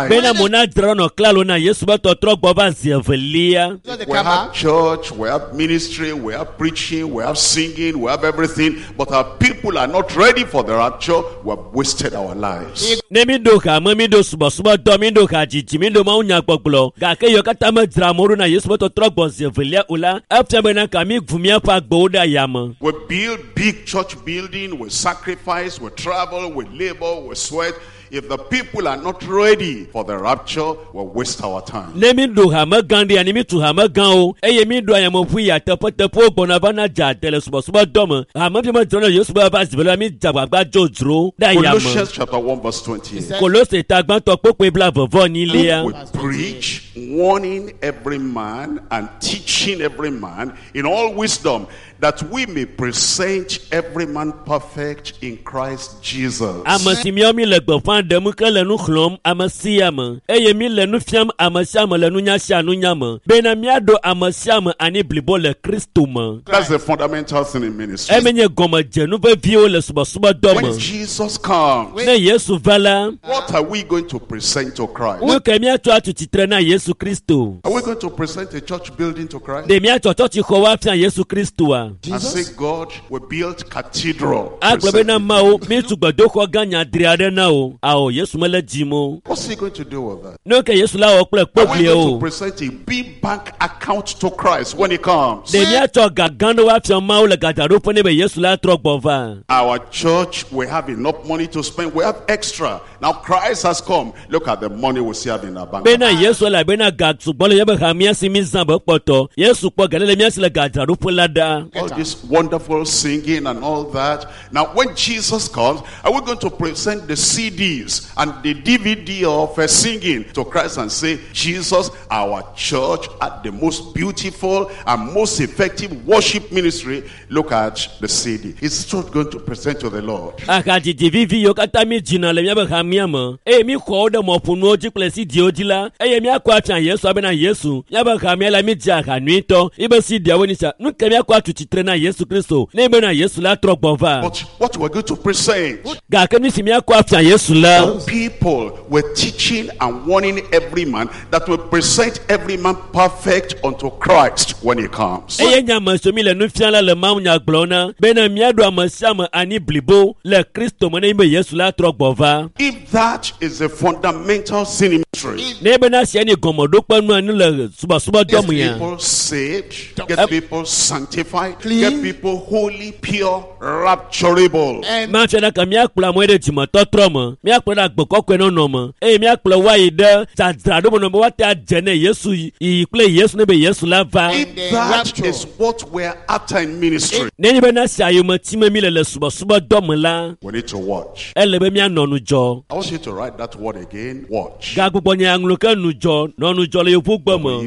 Bena mo na dzra nɔ klalo na Yesu be tɔtrɔ gbɔ va zi evelia. We have church, we have ministry, we have preaching, we have singing, we have everything, but our people are not ready for the rapture. We have wasted our lives. Ne mi ɖo hame, mi ɖo subɔsubɔdɔ, mi ɖo hadzidzi, mi ɖo mawunyagbɔgblɔ, gake yiwo katã medzra amewo ɖo na Yesu be tɔtrɔ gbɔ zi evelia o la, efia bena ka mi vu míaƒe agbewo ɖe ayame. We build big church building, we sacrifice, we travel, we labor, we sweat. If the people are not ready for the rapture, we waste our time. Ne mi ɖo hame gã ɖea, ne mi tu hame gãwo eye mi ɖo ayameʋu yia teƒeteƒewo gbɔna va na dza ade le subɔsubɔdɔ me, hame fi medzra na Yesu be ava zi evelia, mi dze agbagba dzodzro ɖe ayame. Colossians chapter 1 verse 28. Kolose ta gbãtɔ kpokpoe blaeve vɔ enyilia. We preach, warning every man and teaching every man in all wisdom, that we may present every man perfect in Christ Jesus. Ame si míawo mi le gbeƒã ɖem ke le nu xlɔ̃m ame sia ame eye mi le nu fiam ame sia ame le nunya sia nunya me bena míaɖo ame sia ame ani blibo le Kristo me. That's the fundamental thing in ministry. Eme nye gɔmedzenu veviwo le subɔsubɔdɔ When me. Jesus comes, Ne Yesu va la, what are we going to present to Christ? nu ke míatsɔ atu tsitre na Yesu Kristo? Are we going to present a church building to Christ? Ɖe míatsɔ tsɔtsixɔwo afia Yesu Kristoa? And say, God, we built cathedral. Agblɔ bena Mawu, míetu gbedoxɔ gã nyadri aɖe na wo. Ao, Yesu mele dzim o. What's he going to do with that? Nu ke Yesu la wɔ kple Are we going kpogliwo? to present a big bank account to Christ when he comes? Ɖe míatsɔ ga gã ɖewo afia Mawu le gadzraɖoƒe ne be Yesu la trɔ gbɔ va? Our church, we have enough money to spend. We have extra. Now Christ has come. Look at the money we still have in our bank. Bena Yesu elabena ga sugbɔ le míaƒe hamea si mi zã be kpɔtɔ. Yesu kpɔ ga ɖe le mía si le gadzraɖoƒe la ɖa. All this wonderful singing and all that. Now, when Jesus comes, are we going to present the CDs and the DVD of singing to Christ and say, Jesus, our church at the most beautiful and most effective worship ministry? Look at the CD. It's not going to present to the Lord. Ahadzidzi vivi yiwo katã mi dzina le míaƒe hamea me eye mi xɔ wo ɖe mɔƒonuwo dzi kple CDwo dzi la, eye míakɔ afia Yesu abena Yesu, míaƒe hamea la mi dzi aha nyuitɔ, míbe CDawo ni sia. Nu ke míakɔ atu tsitre na Yesu Kristo ne bena Yesu la trɔ gbɔ va. But what we're going to present, Gake nu si míakɔ afia Yesu la, people were teaching and warning every man that will present every man perfect unto Christ when he comes. eye nye ame siwo mi le nu fiam la le mawunya gblɔm na bena míaɖo ame sia ame ani blibo le Kristo me ne be Yesu la trɔ gbɔ va. If that is the fundamental sin in ministry, Ne bena sia ni gɔmeɖokpe nu ani le subɔsubɔdɔ get me ya. people saved, get people sanctified, get people holy, pure, rapturable. Mafia ɖe ka míakplɔ amewo ɖe dzimetɔtrɔ me, míakplɔ ɖe agbe kɔkɔe nɔnɔ me, eye míakplɔ woayi ɖe dzadzraɖo me nɔ be woate adze ne Yesu yiyi kple Yesu ne be Yesu la va. If that is what we're after in ministry, Nenye bena sia yome time mi le le subɔsubɔdɔ me la, we need to watch. ele be míanɔ nudzɔ. I want you to write that word again. Watch. Gagbugbɔ nye aŋlɔ ke nudzɔ, nɔ nudzɔ le yevugbe me.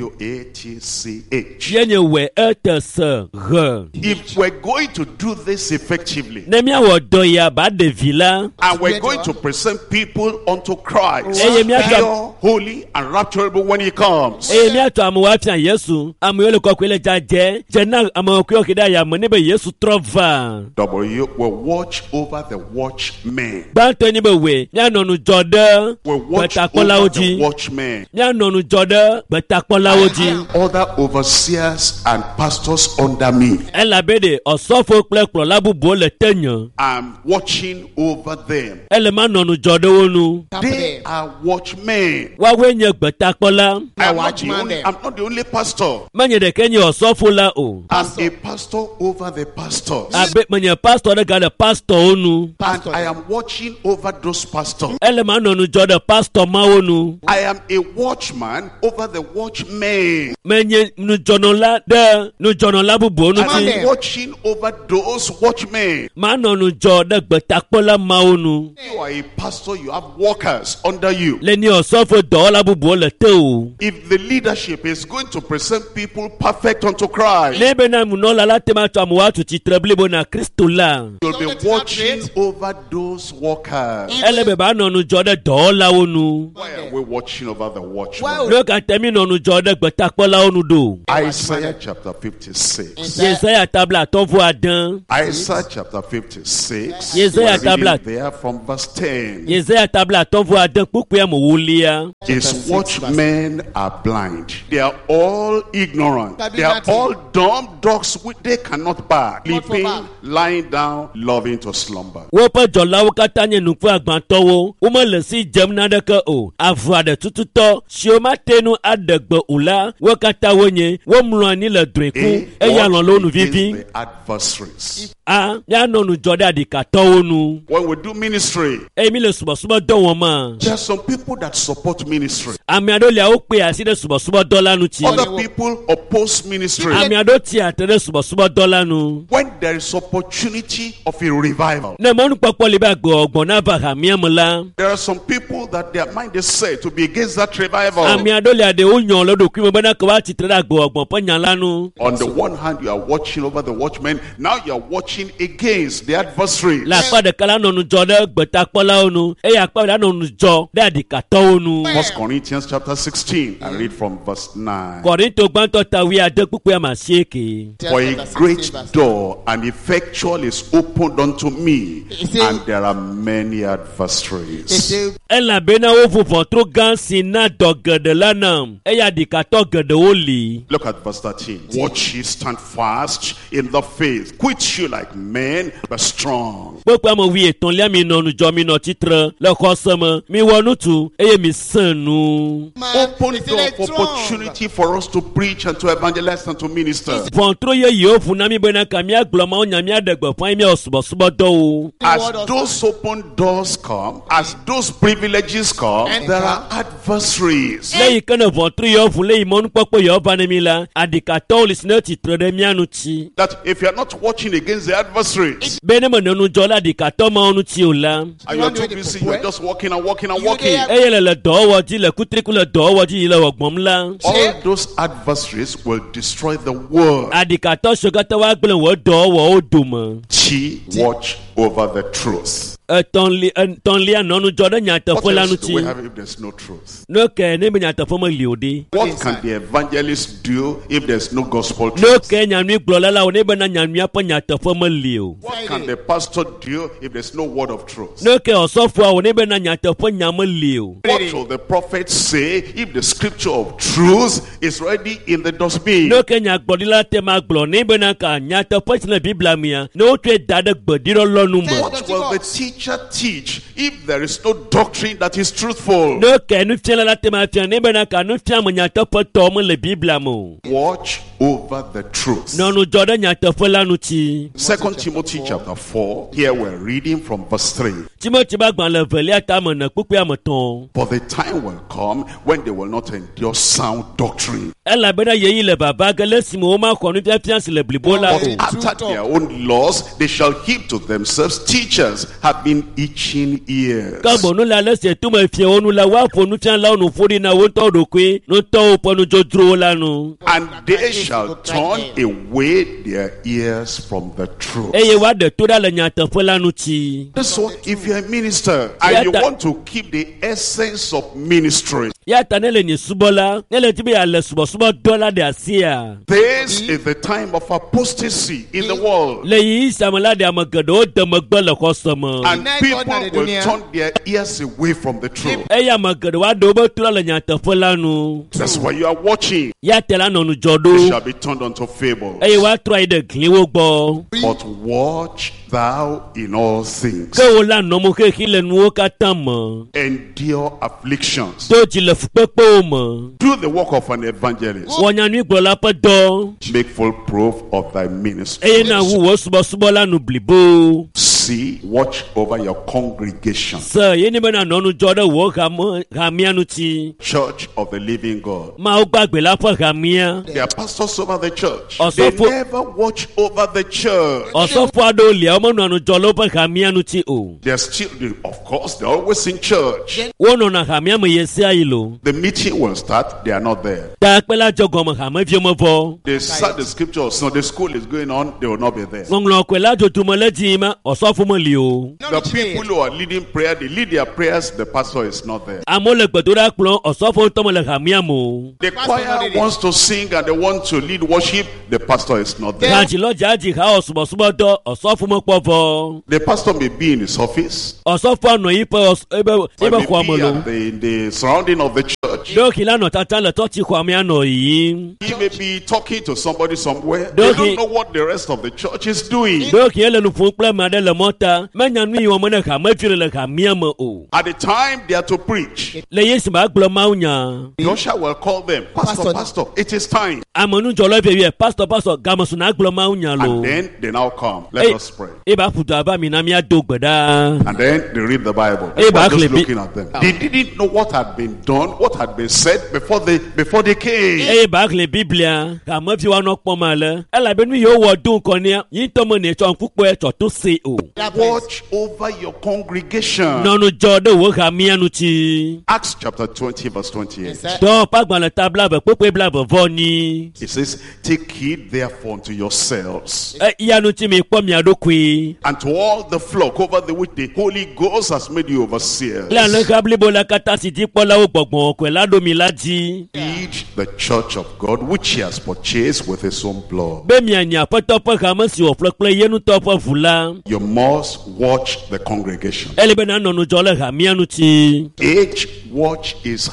W-A-T-C-H. Ye nye wɛ ete se he. If we're going to do this effectively, Ne míawɔ dɔ ya ba ɖevi la, and we're going to present people unto Christ, Eye míatsɔ pure, holy, and rapturable when he comes. eye míatsɔ amewo afia Yesu, amewo le kɔkɔe le dzadzɛ, dze na ame kɔkɔewo ke ɖe ayame ne be Yesu trɔ va. W will watch over the watchmen. Gbãtɔe nye be wɛ míanɔ nudzɔ ɖe Will watch gbetakpɔlawo over the dzi. watchmen. Míanɔ nudzɔ ɖe gbetakpɔlawo dzi. Other overseers and pastors under me. Elabe ɖe ɔsɔfo kple kplɔla bubuwo le tenye. I'm watching over them. Ele manɔ nudzɔ ɖe wo nu. They are watchmen. Woawoe nye gbetakpɔla. I'm not the only pastor. Menye ɖeke nye ɔsɔfo la o. I'm a pastor over the pastors. Abe menye pastor ɖe gale pastorwo nu. And I am watching over those pastors. Ele manɔ nudzɔ ɖe pastor mawo nu. I am a watchman over the watchmen. Menye nudzɔnɔla ɖe nudzɔnɔla bubuwo And ŋuti. I'm watching over those watchmen. Manɔ nudzɔ ɖe gbetakpɔla mawo nu. You are a pastor, you have workers under you. Le ni ɔsɔfo dɔwɔla bubuwo le te o. If the leadership is going to present people perfect unto Christ, Ne bena nunɔla la te ma tsɔ amewo atu tsitre blibo na Kristo la, you'll be watching over those workers. ele be banɔ nudzɔ ɖe dɔwɔlawo nu. Why are we watching over the watchmen? Nu ka ta mi nɔ ŋudzɔ ɖe gbetakpɔlawo nu ɖo? Isaiah chapter 56. Yesaya ta 56. Isaiah chapter 56. Yesaya We're reading tabla. there from verse 10. Yesaya ta 56 kpukpui ame ewolia. His watchmen are blind. They are all ignorant. Can do They are nothing. all dumb dogs which they cannot bark. Not for Sleeping, bark. lying down, loving to slumber. Woƒe dzɔlawo katã nye nuƒe agbãtɔwo. Womele si dzem naneke o. Avu aɖe tututɔ siwo mate ŋu aɖe gbe o la, wo katã wonye. Womlɔ anyi le drɔ̃e kum A, eye alɔ̃ le wo nu watch against vivi. the adversaries. A, míanɔ ŋudzɔ ɖe aɖikatɔwo nu. When we do ministry, Eye mi le subɔsubɔdɔ wɔm ma, there are some people that support ministry. ame aɖewo lia wokpe asi ɖe subɔsubɔdɔ la ŋuti. Other people oppose ministry. Ame aɖewo tsi atre ɖe subɔsubɔdɔ la nu. When there is opportunity of a revival, Ne mɔnukpɔkpɔ li be agbegbɔgbɔ nava hamea me la, there are some people that their mind is set to be against that revival. ame aɖewo lia ɖewo nyɔ le ɖokui me bena ke woatsi tre ɖe agbegbɔgbɔ ƒe nya la nu. On the one hand, you are watching over the watchmen. Now you are watching against the adversary. Le akpa ɖeka la nɔ ŋudzɔ ɖe gbetakpɔlawo nu eye akpa ɖeka nɔ ŋudzɔ ɖe aɖikatɔwo nu. First Corinthians chapter 16. I read from verse 9. Kɔrinto gbãtɔ ta wuiade kpukpui ame asieke. For a great door and effectual is opened unto me, and there are many adversaries. Elabena woʋu ʋɔtru gã si na dɔ geɖe la nam eye aɖikatɔ geɖewo li. Look at verse 13. Watch ye stand fast in the faith. Quit you like men, but strong. Kpukpui ame wuietɔ̃lia mi nɔ ŋudzɔ mi nɔ tsitre le xɔse me miwɔ nutu eye mi sẽ nu. Open door of opportunity for us to preach and to evangelize and to minister. Ʋɔtru yeyewo ʋu na mi bena ka míagblɔ Mawu nya míaɖe gbeƒã eye míawɔ subɔsubɔdɔwo. As those open doors come, as those privileges come, there are adversaries. Le yi ke ne ʋɔtru yewo ʋu le yi mɔnukpɔkpɔ yewo va ne mi la, aɖikatɔwo li si ne tsitre ɖe mía ŋuti. That if you are not watching against the adversaries, Be ne menɔ ŋudzɔ ɖe aɖikatɔ mawo ŋuti o la, and you are too busy, you are just walking and walking and walking. eye le le dɔwɔwɔ dzi le kutriku le dɔwɔwɔ dzi yi le wɔgbɔm la, All those adversaries will destroy the world. aɖikatɔ siwo katã woagblẽ wò dɔwɔwɔwo dome. She watch over the truth. Etɔ̃li etɔ̃lia nɔ ŋudzɔ ɖe What nyateƒe la else do we ŋuti. have if there's no truth? Ne ke ne be nyateƒe meli o ɖe. What can the evangelist do if there's no gospel Ne truth? ke nyanyuigblɔla la wò ne bena nyanyuia ƒe nyateƒe meli o. What can the pastor do if there's no word of truth? Ne ke ɔsɔfoa wò ne bena nyateƒe nya meli o. What will the prophet say if the scripture of truth is already in the dustbin? Ne ke nyagblɔɖila te ma gblɔ ne bena ka nyateƒe si le Biblia mea, ne wotsɔe da ɖe gbeɖiɖɔlɔ nu me. What will the teacher teach if there is no doctrine that is truthful? Ne ke nufiala la te ma fia ne bena ka nufiame nyateƒetɔ mele Biblia me o. Watch over the truth. Nɔ ŋudzɔ ɖe nyateƒe la ŋuti. Second Timothy chapter 4, here we're reading from verse 3. Timothy ƒe agbalẽ evelia ta ame ene kpukpui ame etɔ̃. For the time will come when they will not endure sound doctrine. Elabena yeyi le vava ge le esime womaxɔ nufiafia si le blibo la But o. after their own laws, they shall heap to themselves teachers having itching ears. Ke boŋ nu le ale si tome fiawo nu la, woaƒo nufialawo nu ƒo ɖi na wo ŋutɔwo ɖokui, ŋutɔwo ƒe nudzodzrowo la nu. And they shall turn away their ears from the truth. Eye woaɖe to ɖa le nyateƒe la ŋuti. That's why if you're a minister and you want to keep the essence of ministry, Ya ta ne le nye subɔla, ne le di be yeale subɔsubɔdɔ la ɖe asia. this is the time of apostasy in the world. Le ɣeyiɣi sia me la ɖe ame geɖewo de megbe le xɔse me. And people will turn their ears away from the truth. Eye ame geɖewo aɖe wobe to ɖa le nyateƒe la nu. That's why you are watching. Ya te la nɔ ŋudzɔ They ɖo shall be turned unto fables. eye woatrɔ ayi ɖe gliwo gbɔ. But watch thou in all things. Ke wo la nɔ mo xexi le nuwo katã me. Endure afflictions. Do dzi le fukpekpewo me. Do the work of an evangelist. Wɔ nyanyuigblɔla ƒe dɔ Make full proof of thy ministry. eye na wu wò subɔsubɔ la nu blibo. See, watch over your congregation. Se ye ni bena nɔ ŋudzɔ ɖe wò hame hamea ŋuti. Church of the living God. Mawu gbagbe la ƒe hamea. There are pastors over the church. Also They for- never watch over the church. Ɔsɔfo aɖewo lia womenɔa ŋudzɔ le woƒe hamea ŋuti o. They're still, of course, they're always in church. Wonɔna hamea me ɣe sia ɣi lo. The meeting will start, they are not there. Takpe la dze gɔme hameviwo mevɔ. They start the scripture, Sunday school is going on, they will not be there. Ŋɔŋlɔ kɔe la dzodzro me le dzi ma ɔsɔfo ɔsɔfo meli o. The people who are leading prayer, they lead their prayers, the pastor is not there. Amewo le gbedoɖa kplɔm, ɔsɔfo ŋutɔ mele hamea me o. The choir wants to sing and they want to lead worship, the pastor is not there. Hadzilɔdza dzi ha wɔ subɔsubɔdɔ, ɔsɔfo mekpɔ vɔ. The pastor may be in his office, Ɔsɔfoa nɔ yiƒe ɔs ebe or ebe may xɔa me be lo. at the, in the surrounding of the church. Ɖewohĩ la nɔ tata le tsɔtsi xɔa mea nɔ yiyim. He may be talking to somebody somewhere. They Don't don't he- know what the rest of the church is doing. Ɖewohĩ ele nu ƒom kple ame aɖe le mɔta, menya nu yi wɔm ne hamevi le le hamea me o. At the time they are to preach, Le Yesu ma gblɔ Mawu nya. the usher will call them, Pastor, Pastor. Pastor, it is time. Amenudzɔla vie pastor pastor game su na gblɔ Mawu nya lo. And then they now come. Let Hey. us pray. Eba ƒu du ava mi na míado gbe ɖa. And then they read the Bible. Hey, Everyone just Barclay, looking at them. They didn't know what had been done, what had been said before they came. Eye ba xlẽ Biblia, hamevi woanɔ kpɔm ale. Elabe nu yiwo wɔ do ŋkɔ nea, yi ŋutɔ me netsɔ ŋku kpɔe tsɔ to se o. Watch over your congregation. Nɔnu dzɔ ɖe wò hamea ŋuti. Acts chapter 20, verse 28. Dɔwɔƒe agbalẽ ta blaeve kpukpui blaeve vɔ nyi. It says, Take heed therefore unto yourselves Eya ŋuti mi kpɔ mia ɖokui. and to all the flock over the which the Holy Ghost has made you overseers. Le alẽha blibo la katã si dzikpɔlawo gbɔgbɔ kɔe la ɖo mi la dzi. Feed the church of God which he has purchased with his own blood. Be mianyi aƒetɔ ƒe hame si wòƒle kple ye ŋutɔ ƒe ʋu la. You must watch the congregation. Ele be nanɔ ŋudzɔ le hamea ŋuti. H watch is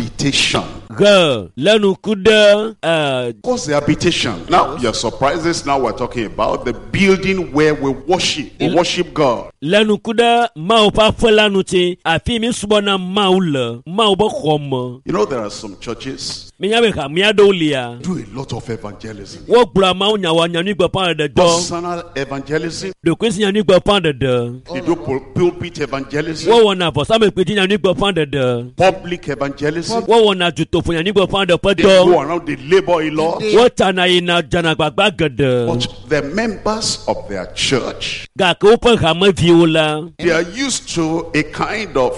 habitation. He le nuku ɖe eh, What's the habitation? Now, your surprises. Now we're talking about the building where we worship. We worship God. le nuku ɖe Mawu ƒe aƒe la ŋuti. Afi mi subɔna Mawu le, Mawu be xɔ me. You know, there are some churches Minya be hamea ɖewo lia. do a lot of evangelism. Wogblɔa Mawu nya wɔ nyanyuigbeƒãɖeɖe dɔ. Personal evangelism. Ɖokuisi nyanyuigbeƒãɖeɖe. They do pulpit evangelism. Wowɔna vɔsamlekpui dzi nyanyuigbeƒãɖeɖe. Public evangelism. Wowɔna dutoƒo nyanyuigbeƒãɖeɖe ƒe They dɔ. go around, they labor a lot. Wotsana yina dzana gbagba geɖe. But the members of their church, Gake woƒe hameviwo la, they are used to a kind of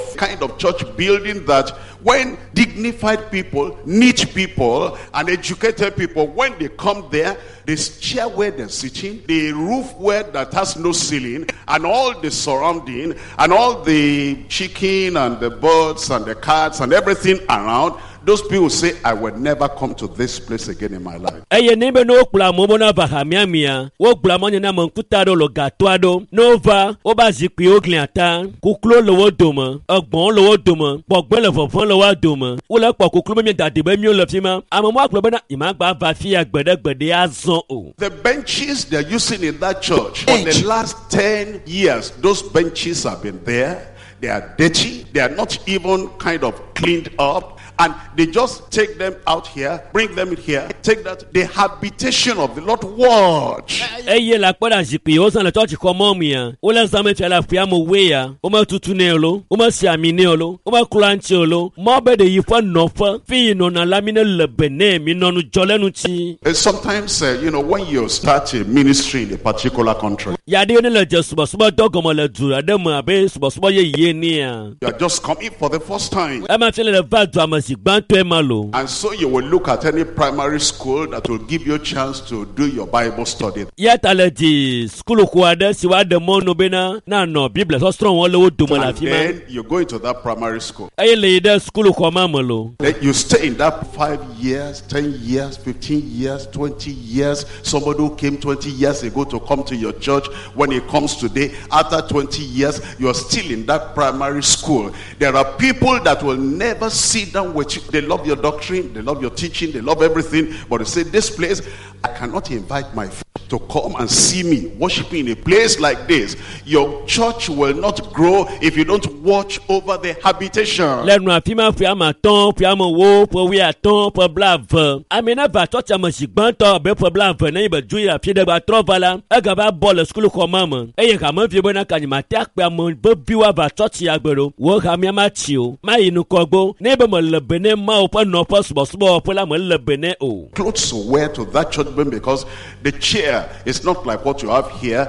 church building that when dignified people, neat people, and educated people, when they come there, this chair where they're sitting, the roof where that has no ceiling, and all the surrounding, and all the chicken and the birds and the cats and everything around, those people say, I will never come to this place again in my life. eye ne be ne wokplɔ amewo be nava hamea mia, wogblɔ amewo nye ne ame ŋkuta aɖewo le gatɔ aɖewo. Ne wova, woba zikpuiwo glia ta, kukluwo le wo dome, egbɔ̃wo le wo dome, gbɔgbɔe le vɔvɔ̃ le woa dome. Wole kpɔ kuklu be mieda de be míwo le fi ma. Ame ma gblɔ bena nyemagba va fi ya gbe ɖe gbe ɖe azɔ o. The benches they're using in that church for the last 10 years, those benches have been there. They are dirty. They are not even kind of cleaned up. And they just take them out here, bring them in here, take that. The habitation of the Lord, watch. Eye le akpɔ ɖe zikpui yiwo zã le tsɔtsi xɔ mɔ mia, wole zã me fia le aƒea me woe ya, wometutu nɛ o lo, womesi ami nɛ o lo, womeklɔa ŋuti o lo. Mɔ be ɖe yi ƒe nɔƒe, fi yi nɔna la mi ne le be nɛ, mi nɔ ŋudzɔ le ŋuti. Sometimes, when you start a ministry in a particular country, Yaɖewo ne le dze subɔsubɔdɔ gɔme le du aɖe me abe subɔsubɔ yeye nea. you are just coming for the first time. Ema fia le va dua me zi gbãtɔe ma lo. And so you will look at any primary school that will give you a chance to do your Bible study. Ya ta le di sukuluxɔ aɖe si woaɖe mɔnu bena nanɔ Biblia sɔsrɔ̃ wɔm le wo dome le And afi ma. then you go into that primary school. Eye le yi ɖe sukuluxɔ ma me lo. Then you stay in that 5 years, 10 years, 15 years, 20 years. Somebody who came 20 years ago to come to your church, when it comes today, after 20 years, you're still in that primary school. There are people that will never sit down with you. They love your doctrine, they love your teaching, they love everything. But they say, this place, I cannot invite my friend to come and see me worshiping in a place like this. Your church will not grow if you don't watch over the habitation. Le nu afi ma ƒe ame atɔ̃, ƒe ame ewo, ƒe wuiatɔ̃, ƒe blaeve. Ame ne va tsɔtsi ame zi gbãtɔ abe ƒe blaeve ne yi be dzo yi afi ɖe gba trɔ va la, egava bɔ le sukuluxɔ ma me. Eye hamevi bena ka nyemate akpe ame veviwo ava tsɔtsi agbe ɖo. Wo hamea matsi o, mayi ŋgɔgbe. Ne be mele be ne Mawu ƒe nɔƒe subɔsubɔwɔƒe la mele be ne o. Clothes to wear to that church building because the chair is not like what you have here.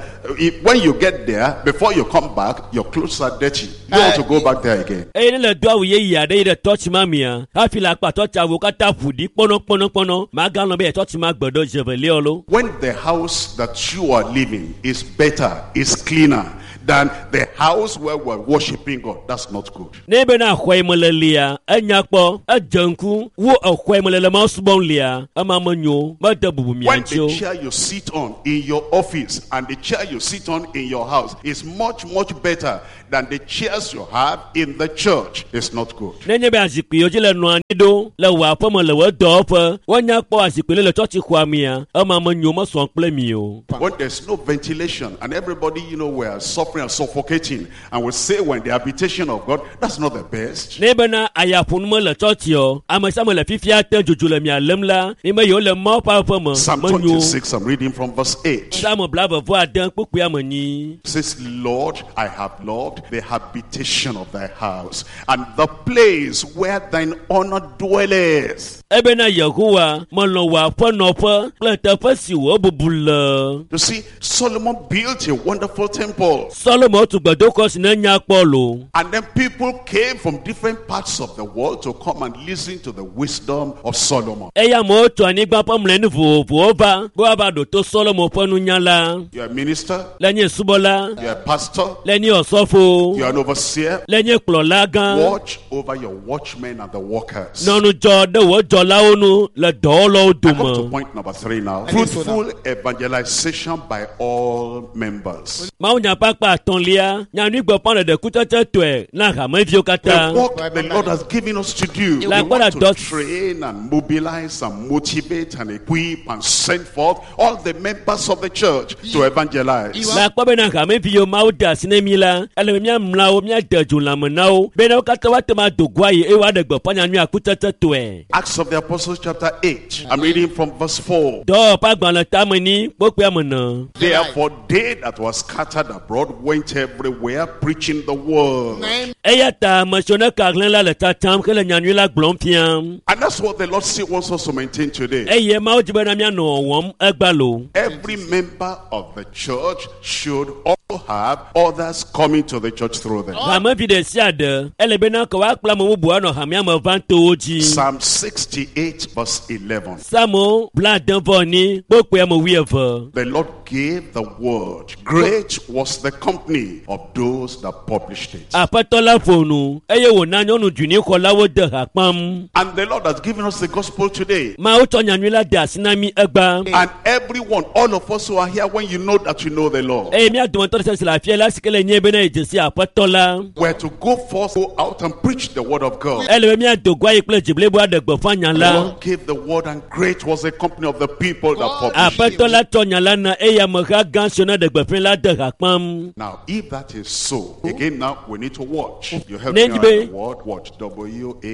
When you get there, before you come back, your clothes are dirty. You don't want to go back there again. Eye ne le do awu yeye aɖe yi ɖe tsɔtsi ma mea, hafi le akpa tsɔtsi awuwo katã ƒo ɖi kpɔnɔkpɔnɔkpɔnɔ, maganɔ be ye tsɔtsi ma gbe ɖo zevelia o lo. When the house that you are living is better, is cleaner than the house where we're worshiping God, that's not good. Ne bena xɔ yi me le lia, enya kpɔ, edze ŋku wo exɔ yi me le le Mawu subɔm lia, ema menyo, mede bubu mia When ŋuti o. the chair you sit on in your office and the chair you sit on in your house is much, much better than the chairs you have in the church, it's not good. Nenye be azikpui yiwo dzi le nɔa anyi ɖo le wò aƒeme le wò dɔwɔƒe, woanya kpɔ azikpui le le tsɔtsixɔa mea, ema menyo mesɔ kple mi o. When there's no ventilation and everybody, you know, we're suffering and suffocating, and we say we're in the habitation of God, that's not the best. Ne bena ayaƒonu mele tsɔtsi ame sia ame le fifia te dzodzo le mia lém la, mi me yiwo le Mawu ƒe aƒeme Psalm menyo. 26, I'm reading from verse 8. Psalm 79 kpukpui ame 8. Says, Lord, I have loved the habitation of thy house and the place where thine honor dwelleth. Ebena Yehowa melɔ̃ wò aƒenɔƒe kple teƒe si wò bubu le. You see, Solomon built a wonderful temple. Solomo tu gbedoxɔ si ne nya kpɔ lo. And then people came from different parts of the world to come and listen to the wisdom of Solomon. Eya amewo tso anyigba ƒe mlɔenu vovovowo va be woava ɖo to Solomo ƒe nunya la. You're a minister, Le nye subɔla, you're a pastor, le nye osɔfo, you're an overseer. le nye kplɔla gã. Watch over your watchmen and the workers. Nɔ ŋudzɔ ɖe wò dzɔlawo nu le dɔwɔlawo I come to dome. point number 3 now. I think so now. Fruitful evangelization by all members. Mawunya ƒe akpa atɔ̃lia, nyanyuigbeƒãɖeɖe kutsetsetɔe na hameviwo katã. The work the Lord has given us to do. We Like want what to does- train and mobilize and motivate and equip and send forth all the members of the church to evangelize. Le akpɔ bena hameviwo Mawu de asi ne mi la, ele be míamla wo, míade dzo lãme na wo bena wo katã woate ŋu ado go ayi eye woaɖe gbeƒã nyanyuia kutsetsetɔe. Acts of the Apostles chapter 8. I'm reading from verse 4. Dɔwɔƒe agbalẽ tame ni kpokpea me ne. Therefore they that were scattered abroad went everywhere preaching the word. 9 Eya ta ame siwo ne ka hlẽ la le tsatsam hele nyanyui la gblɔm fiam. And that's what the Lord still wants us to maintain today. Eye Mawu dzi bena míanɔ wɔwɔm egba lo. Every member of the church should also have others coming to the church through them. Hamevi ɖe sia ɖe ele bena ke woakplɔ ame bubu anɔ hamea me vam to wo dzi. Psalm 68 verse 11. Psalmo 79 kpokpea me 20. The Lord gave the word. Great was the company of those that published it. Aƒetɔ la ƒo nu eye wòna nyɔnu dzunixɔlawo de ha kpam. And the Lord has given us the gospel today. Mawu tsɔ nyanyui la de asi na mí egba. And everyone, all of us who are here, when you know that you know the Lord, Eye mía dometɔ ɖe sia si le afia la si ke le nye bena yedze si aƒetɔ la. we're to go forth, go out and preach the word of God. Ele be míado go ayi kple dzi blibo aɖe gbeƒã nya The la. Lord gave the word, and great was the company of the people that published it. Aƒetɔ la tsɔ nya la na eye ameha gã siwo ne ɖe gbeƒã la de ha kpam. Now, if that is so, again now we need to watch. You help me Nenye write be- the word watch.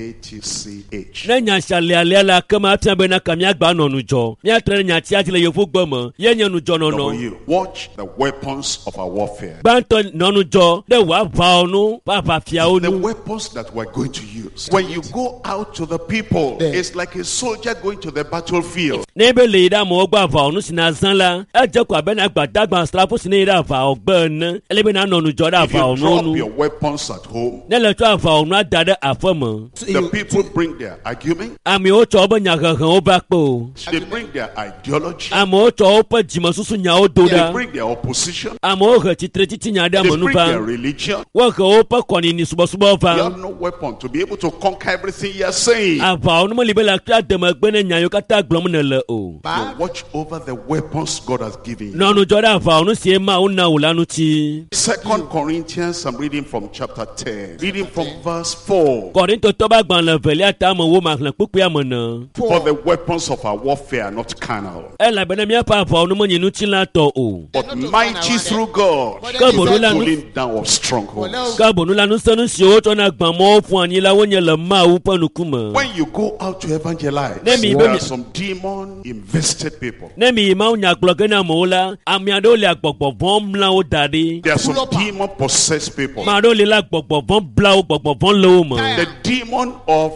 W-A-T-C-H. Ne nya sia le alea la ke ma fia bena ka míagba nɔ ŋudzɔ. Míatre ɖe nyatia dzi le yevugbe me ye nye ŋudzɔnɔnɔ. W. Watch the weapons of our warfare. Gbãtɔ nɔ ŋudzɔ ɖe wò aʋawo nu ƒe aʋafiawo The nu. weapons that we're going to use. When you go out to the people, it's like a soldier going to the battlefield. Ne be le yi ɖe amewo gbɔ aʋawɔnu si nazã la, edze ko abe na gbadagba asrafo si ne yi ɖe aʋawɔgbe ene. Ele be nanɔ ŋudzɔ ɖe If you aʋawɔnuwo drop nu. your weapons at home, Ne le tsɔ aʋawɔnua da ɖe aƒe me, the people bring their argument, amewo tsɔ woƒe nyahehewo va kpe o. they bring their ideology, Amewo tsɔ woƒe dzimesusu nyawo do they ɖa. bring their opposition, Amewo he tsitretsitsi nya ɖe they ame nu bring va. their religion. Wohe woƒe kɔnini subɔsubɔ You va. have no weapon to be able to conquer everything you are saying. Aʋawɔnu meli be le akpea demegbe ne nya yiwo katã gblɔm nèle o. You watch over the weapons God has given you. Nɔ ŋudzɔ ɖe aʋawɔnu sie Mawu na wò la ŋuti. 2 Corinthians, I'm reading from chapter 10, reading from verse 4. Kɔrintotɔ ƒe agbalẽ evelia ta me wo maxlẽ kpukpuia me ne. For the weapons of our warfare are not carnal, Elabena míaƒe aʋawɔnu menye ŋutilãtɔ o. but mighty through God Ke to boŋ the la nu pulling down of strongholds. ke boŋ la ŋusẽnu siwo wotsɔna gbã mɔwo ƒu anyi la wonye le Mawu ƒe ŋkume. When you go out to evangelize, Ne mi- there are some demon invested people. Ne mi yi Mawu nya gblɔ ge na amewo la, ame aɖewo le gbɔgbɔ vɔ̃ mla wo da ɖi. There are some demon possessed people. Ame aɖewo li la gbɔgbɔ vɔ̃ bla wo, gbɔgbɔ vɔ̃ le wo me. The demon of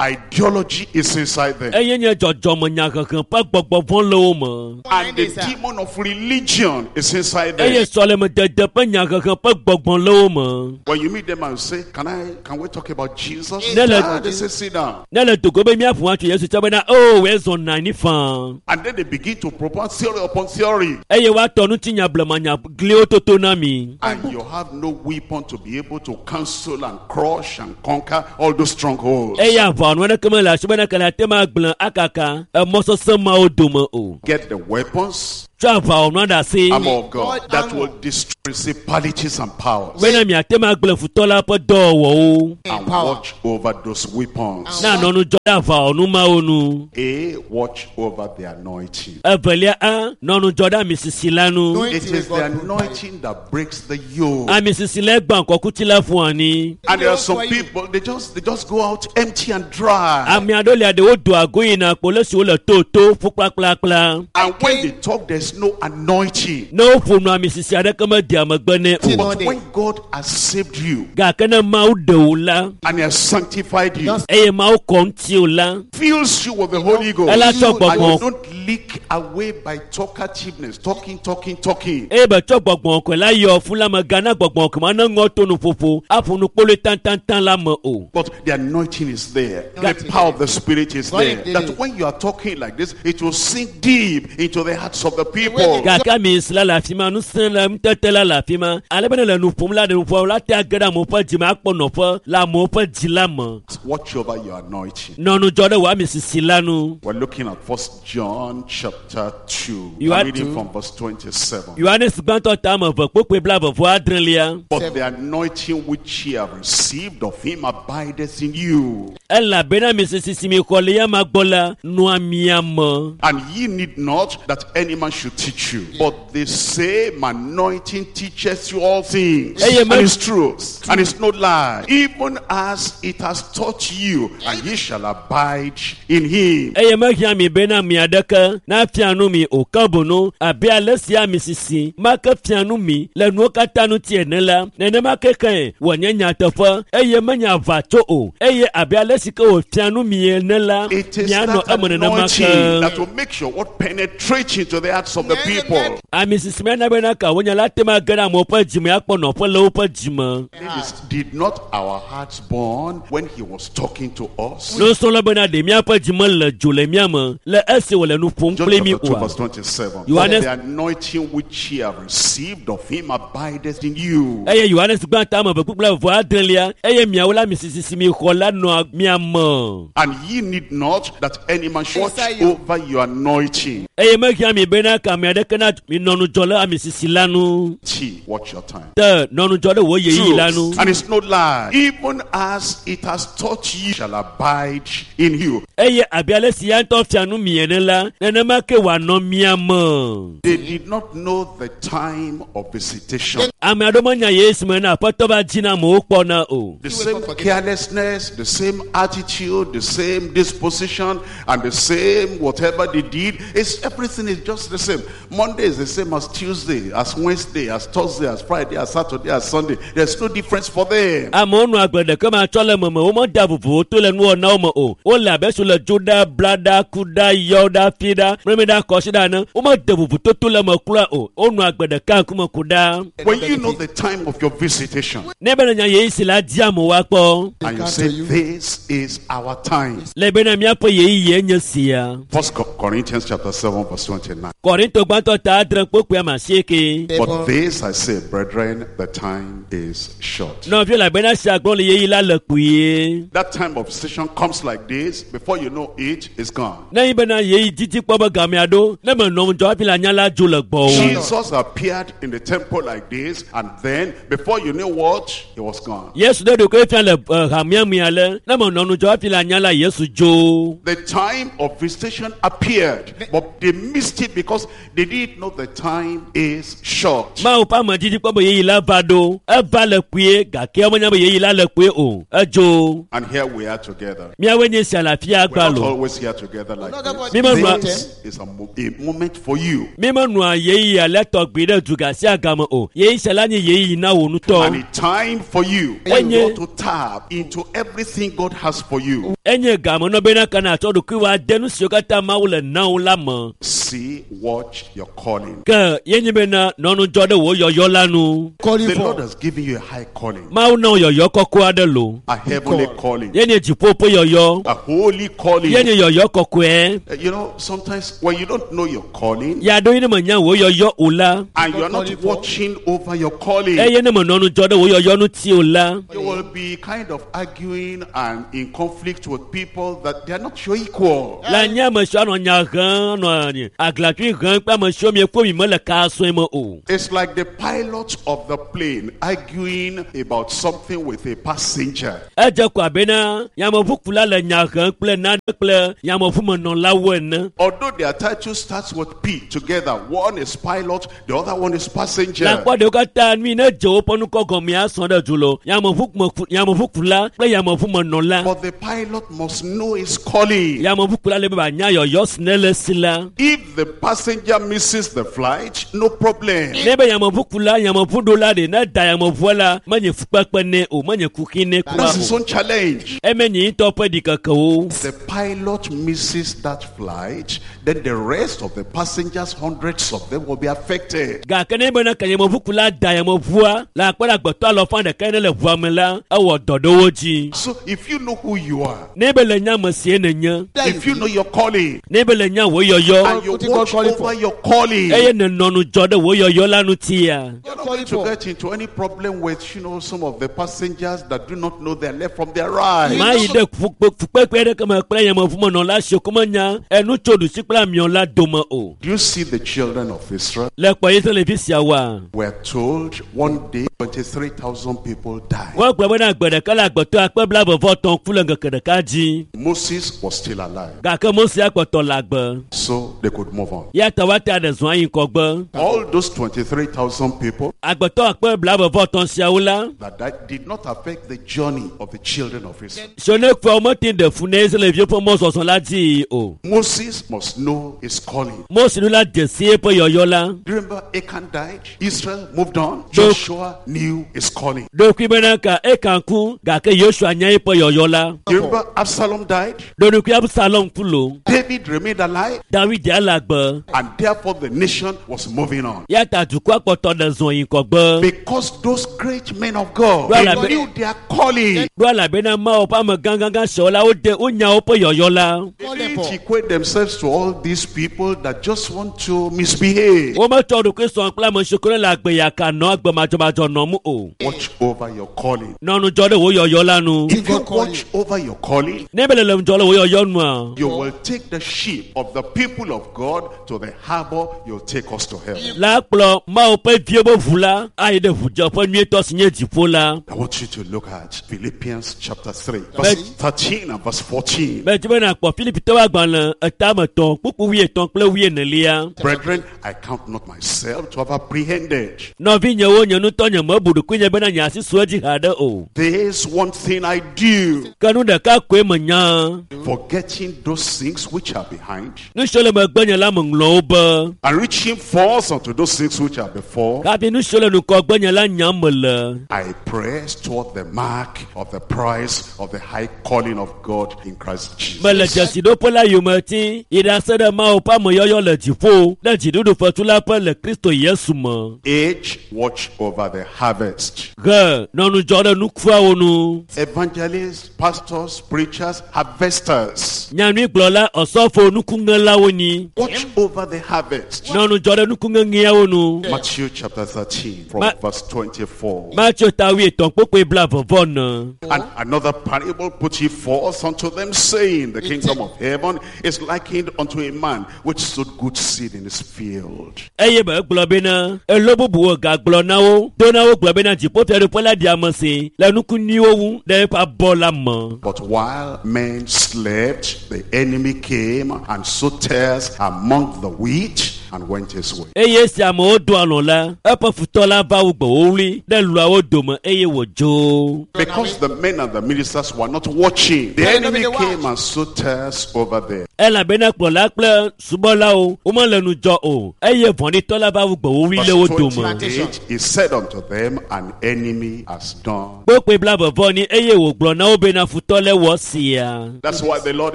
ideology is inside them. Eye nye dzɔdzɔme nyahehe ƒe gbɔgbɔ vɔ̃ le wo me. And the demon of religion is inside Eye them. sɔlemedede ƒe nyahehe ƒe gbɔgbɔ le wo me. When you meet them and say, Can we talk about Jesus? Nele- They say, sit down. Ne le dogo be míaƒo atso Yesu tsɛ bena o wòe zɔ na anyi faa. And then they begin to propose theory upon theory. story. Eye woatɔ ŋutinya blemanya gliwo toto na mi. And you have no weapon to be able to cancel and crush and conquer all those strongholds. Eye aʋawɔnu aɖeke mele asi bena kele ate ma gblẽ akaka emɔ sesẽ mawo dome o. Get the weapons, Tsɔ aʋawɔnua ɖe asi armor of God, God that armor. will destroy principalities and powers. bena miate ma gblẽ futɔ la ƒe dɔwɔwɔwo. And Power. watch over those weapons. Na nɔ ŋudzɔ ɖe aʋawɔnu mawo nu. A, watch over the anointing. Evelia a nɔ ŋudzɔ ɖe amisisi la nu. Anointing It is will the God provide. anointing that breaks the yoke. Amisisi la gbã kɔkuti la ƒo anyi. And there are some For you. people, they just go out empty and dry. Ame aɖewo lia ɖewo doa go yina kpo le si wole toto ƒu kplakplakpla. And when they talk, there's no anointing. Ne woƒo nu amisisi aɖeke medea megbe nɛ o. But Anointing. when God has saved you Gake ne Mawu ɖe wò la and He has sanctified you, Just eye Mawu kɔ ŋuti wò la fills you with the Holy Ghost, ela tsɔ and you gbɔgbɔ don't leak away by talkativeness, talking, talking, talking. eye be tsɔ gbɔgbɔ kɔe la yɔ fún la me gana gbɔgbɔ kɔe ma ne ŋɔ to nuƒoƒo aƒo nu kpoloe tãtãtã la me o. But the anointing is there. The Anointing. power of the Spirit is God there. did That it. when you are talking like this, it will sink deep into the hearts of the people. Gake amisisi la le afi ma, ŋusẽ le ŋutete la le afi ma. Ale be ne le nu ƒom la ɖe nuƒoa la te age ɖe amewo ƒe dzi me akpɔ nɔƒe le amewo ƒe dzi la me. Watch over your anointing. Nɔ ŋudzɔ ɖe wò amisisi la nu. We're looking at First John chapter 2. You I'm are reading two. from verse 27. Yohanes gbãtɔ ta ame eve kpokpoe blaeve vɔ adrelia. But the anointing which ye have received of him abideth in you, Elabena amisisi si mi xɔ le yama gbɔ la nɔa mia me. and ye need not that any man should teach you. But the same anointing teaches you all things, Amen. and it's truth, and it's no lie, even as it has taught you, and ye shall abide in him. Eye mehiã mi bena mi aɖeke nafia nu mi o ke boŋ abe ale si amisisi ma ke fia nu mi le nuwo katã ŋuti ene la nenema ke ke wònye nyateƒe eye menye aʋatso o eye abe ale si ke wòfia nu mi ene la It is mianɔ that eme nenema anointing ke. that will make sure what penetrates into the hearts of the people. Amisisi ma na bena ka wonya la te ma ge ɖe amewo ƒe dzime akpɔ nɔƒe le woƒe dzime. Ladies, did not our hearts burn when he was talking to us? Nusrɔ̃la bena ɖe míaƒe dzime le dzo le mía me le esi wòle nu ƒom John kpli mí chapter 2 oa. verse 27. Yohanes- But the anointing which ye have received of him abideth in you. Eye Yohanes gbã ta ame eve kpukpla vɔ adrelia eye miawo la amisisi si mi xɔ la nɔa mia me. And ye need not that any man should watch Inside you. over your anointing. Eye mehiã mi bena ka ame aɖeke na mi nɔ ŋudzɔ ɖe amisisi la nu. T, watch your time. Te nɔ ŋudzɔ ɖe wò ɣeyiɣi la nu. Truth, and it's no lie. Even as it has taught you, shall abide in you. Eye abe ale si ya ŋutɔ fia nu mi ene la nenema ke wòanɔ mia me. They did not know the time of visitation. Ame aɖewo menya Yesu me na aƒetɔ va dzi na amewo kpɔna o. The You will same not forget. carelessness, the same attitude, the same disposition, and the same whatever they did. It's everything is just the same. Monday is the same as Tuesday, as Wednesday, as Thursday, as Friday, as Saturday, as Sunday. There's no difference for them. Amewo nɔ agbe ɖeke ma tsɔ le meme womeda vovowo to le nuwɔnawo me o. Wole abe si le dzo ɖa, bla ɖa, ku ɖa, yɔ ɖa, fi ɖa, mlɔmi ɖa, kɔsi ɖa ene. Womede vovototo le eme kura o. Wonɔ agbe ɖeka ŋkume ku ɖa. When you know the time of your visitation, Ne bena nya ɣeyiɣi si la di amewo akpɔ. and you come say, to you. This is our time. Le bena míaƒe ɣeyiɣie nye sia. First Corinthians chapter 7, verse 29. Kɔrinto gbãtɔ ta adre kpokpoe ame asieke. But this I say, brethren, the time is short. Nɔviwo le bena sia gblɔ le ɣeyiɣi la le kpuie. That time of visitation comes like this, before you know it, it's gone. Ne yi bena ɣeyiɣi didi kpɔ be gamea ɖo, ne menɔ ŋudzɔ hafi le anya la dzo le gbɔwò. Jesus appeared in the temple like this, and then before you knew what, he was gone. Yesu ɖe ɖokui fia le hamea me ale, ne menɔ ŋudzɔ hafi le anya la Yesu dzo. The time of visitation appeared, but they missed it because they didn't know the time is short. Mawu ƒe ame didi kpɔ be ɣeyiɣi la va ɖo, eva le kpuie gake womenya be ɣeyiɣi la le kpuie o. Edzo. And here we are together. Míawoe nye sia le afia We're not gbalo. always here together like Not about this. Remember- This is a moment for you. Mímenɔa ɣeyiɣi alea tɔgbi ɖe duga sia game o. Ɣeyiɣi sia la nye ɣeyiɣi na wò And ŋutɔ. a time for you Enye- when you ought to tap into everything God has for you. Enye game nɔ bena ka nàtsɔ ɖokuiwò ade nu siwo katã Mawu le na wò la me. See, watch Watch your calling. Ke ye nye bena nɔ ŋudzɔ ɖe wò yɔyɔ la nu. Calling The Lord for. has given you a high calling, Mawu na wò yɔyɔ kɔkɔe aɖe lo. a heavenly calling, Ye nye dziƒo ƒe yɔyɔ. a holy calling. Ye nye yɔyɔ kɔkɔe. Sometimes when you don't know your calling Ya ɖo ye ne menya wò yɔyɔ o la, and you are not Calling for. watching over your calling, eye ne menɔ ŋudzɔ ɖe wò yɔyɔ ŋuti o la, you will be kind of arguing and in conflict with people that they are not your equal. la nye ame siwo anɔ nya hem, anɔ aglatui hem kple ame siwo miekpɔ mi mele ka sɔe me o. It's like the pilot of the plane arguing about something with a passenger. Edze ko abena yameʋukula le nya hem kple nane kple yameʋumenɔlawo ene. Although their title starts with P together, one is pilot, the other one is passenger. Le akpɔ ɖewo katã nui ne dze woƒe nukɔ gɔmea sɔ ɖe du lo yameʋukula kple yameʋumenɔla. But the pilot must know his calling. Yameʋukula le be wòanya yɔyɔ si ne le si la. If the passenger misses the flight, no problem. Ne be yameʋukula yameʋuɖola ɖe ne da yameʋua la menye fukpekpe nɛ o menye kuxi nɛ kura That's his o. own challenge. Eme nye ŋutɔ ƒe ɖikekewo. The pilot misses that flight, then the rest of the passengers, hundreds of them, will be affected. Gake ne bena ke yameʋukula da yameʋua le akpe ɖe agbetɔ alɔfa ɖeka ne le ʋua me la ewɔ dɔ ɖe wo dzi. So if you know who you are, Ne be le nya ame sie nènye, if you know your calling, ne be le nya wò yɔyɔ and you What you God watch calling over for? your calling, eye nènɔ ŋudzɔ ɖe wò yɔyɔ la ŋutia, you're not Calling going to for. get into any problem with some of the passengers that do not know their left from their right. mayi ɖe fukpekpe aɖeke me kple yameʋumenɔla siwo ko menya enu tso ɖusi kple amiɔ la dome o. Do you see the children of Israel? Le kpɔ Israelvi siawoa, We're told one day 23,000 people died. wogblɔ bena gbe ɖeka le agbetɔ akpe blaeve-vɔ-etɔ̃ ku le ŋkeke ɖeka dzi. Moses was still alive, Gake Mose akpɔtɔ le agbe. so they could move on. Ya ta woate aɖe zɔn ayi ŋgɔgbe. All those 23,000 people Agbetɔ akpe blaeve-vɔ-etɔ̃ siawo la, that died did not affect the journey of the children of Israel. siwo ne kuawo mete ɖe fu na Israelviwo ƒe mɔzɔzɔ la dzi o. Moses must know his calling. Mose ɖo la dze si eƒe yɔyɔ la. Do you remember Achan died? Israel moved on. Joshua knew his calling. Ɖokui bena ka Ekan ku gake Yosua nya eƒe yɔyɔ la. Do you remember Absalom died? Ɖonukui Absalom ku lo. David remained alive, David ya le agbe. and therefore the nation was moving on. Ya ta dukɔa kpɔtɔ ɖe zɔn yi ŋgɔgbe. Because those great men of God, Well, they I be- knew their calling. Ɖo elabena Mawu ƒe ame gãgãgã siawo la wode wonya woƒe yɔyɔ la. They Calling didn't for. equate themselves to all these people that just want to misbehave. Wometsɔ ɖokui sɔ kple ame siwo ke le agbe yaka nɔ agbe madzɔmadzɔ nɔm o. Watch over your calling. Nɔ ŋudzɔ ɖe wò yɔyɔ la nu. If you God calling. watch over your calling, Ne be le le ŋudzɔ ɖe wò yɔyɔ nua, you will take the sheep of the people of God to the harbor. You'll take us to heaven. la kplɔ Mawu ƒe viwo ƒe ʋu la ayi ɖe ʋudzeƒe nyuietɔ si nye dziƒo la. I want you to look at Philippians chapter 3, verse 13 and verse 14. Medzi be nàkpɔ Filipitɔwo agbalẽ etametɔ̃ kpukpu wuietɔ̃ kple wuienelia. Brethren, I count not myself to have apprehended. Nɔvinyewo, nye ŋutɔ nye mebu ɖokuinye bena nye asi su edzi haɖe o. This one thing I do, Ke nu ɖeka koe menya. forgetting those things which are behind Nu siwo le megbenye la meŋlɔ wo be. and reaching forth unto those things which are before. Hafi nu siwo le ŋgɔgbenye la nyam mele. I press toward the mark of the prize of the high calling of God in Christ Mele Jesus. dzesiɖoƒe la yome ti yi ɖase ɖe Mawu ƒe ameyɔyɔ le dziƒo ɖe dziɖuɖufetu la ƒe le Kristo Yesu me. Age, watch over the harvest. He nɔ ŋudzɔ ɖe nukuawo nu. Evangelists, pastors, preachers, harvesters. Nyanuigblɔla ɔsɔfo nukuŋelawo nyi. Watch over the harvest. Nɔ ŋudzɔ ɖe nukuŋeŋeawo nu. Matthew chapter 13 from verse 24. Mateo ta wuietɔ̃ kpukpui blaeve vɔ ene. And another parable put he forth unto them, saying, The kingdom of heaven is likened unto a man which sowed good seed in his field. Eye be egblɔ bena elo bubuwo gagblɔ na wo do na wo gblɔ bena dziƒofiaɖuƒe la ɖi ame si le nuku nyuiwo ŋu ɖe eƒe abɔ la me. But while men slept, the enemy came and sowed tares among the wheat and went his way. Eye esi amewo do alɔ̃ la, eƒe futɔ la va wu gbe wowlui ɖe luawo dome eye wòdzo. Because the men and the ministers were not watching, the Yeah, enemy nobody came watch. and sowed tares over there. Elabena kplɔla kple subɔlawo womele ŋudzɔ o eye vɔ̃ɖitɔ la va wu gbewuwui le wo Verse dome. 28, he said unto them, An enemy has done. Kpokpoe blaeve ni eye wògblɔ na wo bena futɔ le wɔ sia. That's why the Lord